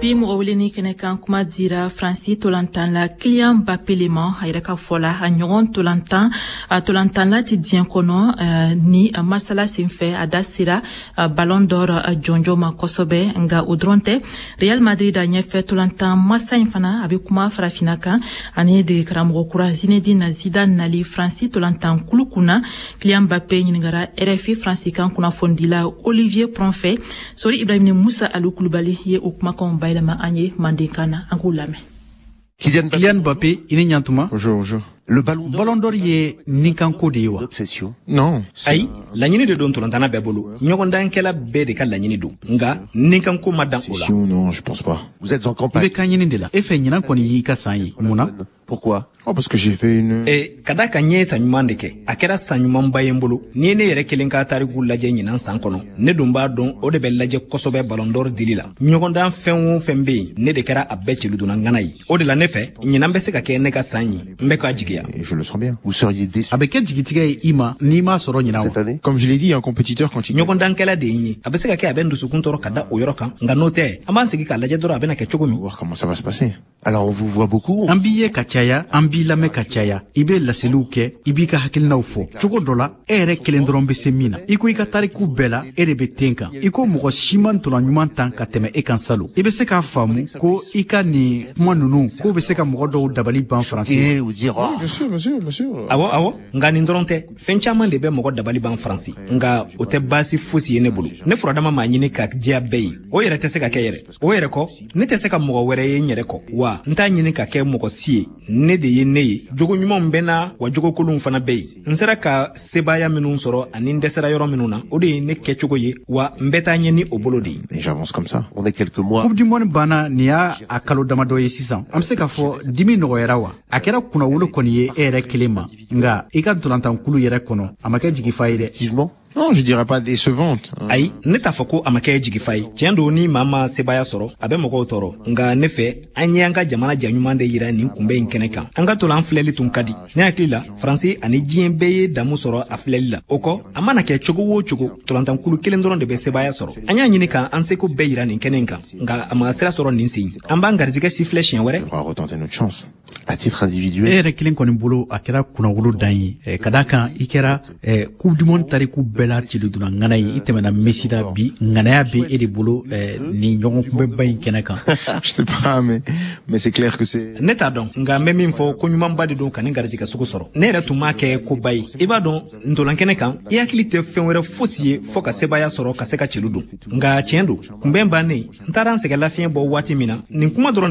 Bi mɔgɔ weleni kɛnɛ kan, kuma dira Faransi tolantan la Kylian Mbappé le ma. A yɛrɛ ka fɔ la, a ɲɔgɔn tolantan a tolantanla ti diɲɛ kɔnɔ. Ni masala senfɛ, a da sera Ballon d'Or jɔnjɔn ma kosɛbɛ. Nka o dɔrɔn tɛ, Real Madrid a ɲɛfɛ tolantan masa in fana, a bɛ kuma farafinna kan ani dege karamɔgɔ kura Zinedine Zidane nali Faransi tolantan kulu kunna. Kylian Mbappé ɲininkara R F I Faransi kan kunnafonidila Olivier Pron fɛ. Sori Ibrahim ni Musa Alu Kulubali ye o kumakanw bayɛlɛma an ye mandenkan na, an k'u lamɛn. Kylian Mbappé, i ni ɲantuma. Bonjour, bonjour. Le ballon d'or, Ballon d'Or ye ninkanko de ye wa? Obsession. Non. Ayi, laɲini de don tolantana bɛɛ bolo. Ɲɔgɔndankɛla bɛɛ de ka laɲini don, nka ninkanko ma dan o la. Obsession, non, je pense pas. Vous êtes en I campagne. bɛ kan ɲini de la. E fɛ ɲinan kɔni y'i ka san ye. Mun na? Pourquoi? Oh, parce que j'ai fait une. E, ka da ka ɲɛ ye san ɲuman de kɛ. A kɛra san ɲumanba ye n bolo. N'i ye ne yɛrɛ kelen ka tariku lajɛ ɲinan san kɔnɔ, ne dun b'a dɔn o de bɛ lajɛ kosɛbɛ Ballon d'Or dili la. Ɲɔgɔndan fɛn o fɛn bɛ yen, ne de kɛra a bɛɛ celudonna ŋana ye. O de la, ne fɛ ɲinan bɛ se ka kɛ ne ka san ye. N bɛ k'a jigiya. Et je le sens bien. Vous seriez déçu A bɛ kɛ jigitigɛ ye i ma n'i m'a sɔrɔ ɲinan cette wa? année? Comme je l'ai dit, un compétiteur, quand il. Ɲɔgɔndankɛla de ye n ye. A bɛ se ka kɛ a bɛ n dusukun tɔɔrɔ ka da o yɔrɔ kan, nka n'o tɛ, an b'an sigi k'a lajɛ dɔrɔn a bɛna kɛ cogo min. Voir comment ça va se passer. Alors on vous voit beaucoup. An b'i ye ka caya, an b'i lamɛn ka caya. I bɛ laseliw kɛ, i b'i ka hakilinaw fɔ. Cogo dɔ la, e yɛrɛ kelen dɔrɔn bɛ se min na. I ko i ka tariku bɛɛ la, e de bɛ ten kan. I ko mɔgɔ si ma ntolan ɲuman tan ka tɛmɛ e kan salon. I bɛ se k'a faamu ko i ka nin kuma ninnu, k'o bɛ se ka mɔgɔ dɔw dabali ban Faransi. Et ou dire, oh, Bien sûr, bien sûr, bien sûr. Awɔ, awɔ, nka nin dɔrɔn tɛ. Fɛn caman de bɛ mɔgɔ dabali ban Faransi, nka o tɛ baasi fosi ye ne bolo. Ne furadama m'a ɲini ka diya bɛɛ ye, o yɛrɛ tɛ se ka kɛ yɛrɛ. O yɛrɛ kɔ, ne tɛ se ka mɔgɔ wɛrɛ ye n yɛrɛ kɔ, wa n t'a ɲini ka kɛ mɔgɔ si ye. Ne de ye ne ye. Jogo ɲumanw bɛ na, wa jogo kolonw fana bɛ yen. N sera ka sebaaya minnu sɔrɔ ani n dɛsɛra yɔrɔ minnu na, o de ye ne kɛcogo ye, wa n bɛ taa ɲɛ ni o bolo de ye. Et j'avance comme ça. On est quelques mois. Coupe du monde banna, nin y'a a kalo damadɔ ye sisan. An bɛ se k'a fɔ dimi nɔgɔyara wa? A kɛra kunnawolo kɔni ye e yɛrɛ kelen ma, nka i ka ntolantankulu yɛrɛ kɔnɔ, a ma kɛ jigifa ye dɛ. Effectivement. Non, je dirais pas décevante. Ayi, ne t'a fɔ ko a ma kɛ jigifa ye. Tiɲɛ don, ni maa ma sebaaya sɔrɔ, a bɛ mɔgɔw tɔɔrɔ, nka ne fɛ, an ye an ka jamana ja ɲuman de yira nin kunbɛn in kɛnɛ kan. An ka tolan filɛli tun ka di. Ne hakili la, Faransi ani diɲɛ bɛɛ ye damu sɔrɔ a filɛli la. O kɔ, a mana kɛ cogo o cogo, tolantankulu kelen dɔrɔn de bɛ sebaaya sɔrɔ. An y'a ɲini ka an seko bɛɛ yira nin kɛnɛ in kan, nka a ma sira sɔrɔ nin sen. An b'an garijɛgɛ sifilɛ siɲɛ wɛrɛ. On devra retenter notre chance. À titre individuel. E yɛrɛ kelen kɔni bolo, a kɛra kunnawolo dan ye, ka d'a kan i kɛra Coupe du monde tariku bɛɛ la ciludonna ŋana ye. I tɛmɛna Messi la, bi ŋanaya bɛ e de bolo nin ɲɔgɔn kunbɛba in kɛnɛ kan. Je sais pas, mais mais c'est clair que c'est Ne t'a dɔn, nka n bɛ min fɔ, ko ɲumanba de don ka nin garijɛgɛ sugu sɔrɔ. Ne yɛrɛ tun m'a kɛ koba ye. I b'a dɔn, ntolan kɛnɛ kan, i hakili tɛ fɛn wɛrɛ fosi ye fɔɔ ka sebaaya sɔrɔ, ka se ka celu don. Nka tiɲɛ don, kunbɛn bannen, n taara n sɛgɛn lafiɲɛ bɔ waati min na, nin kuma dɔrɔn de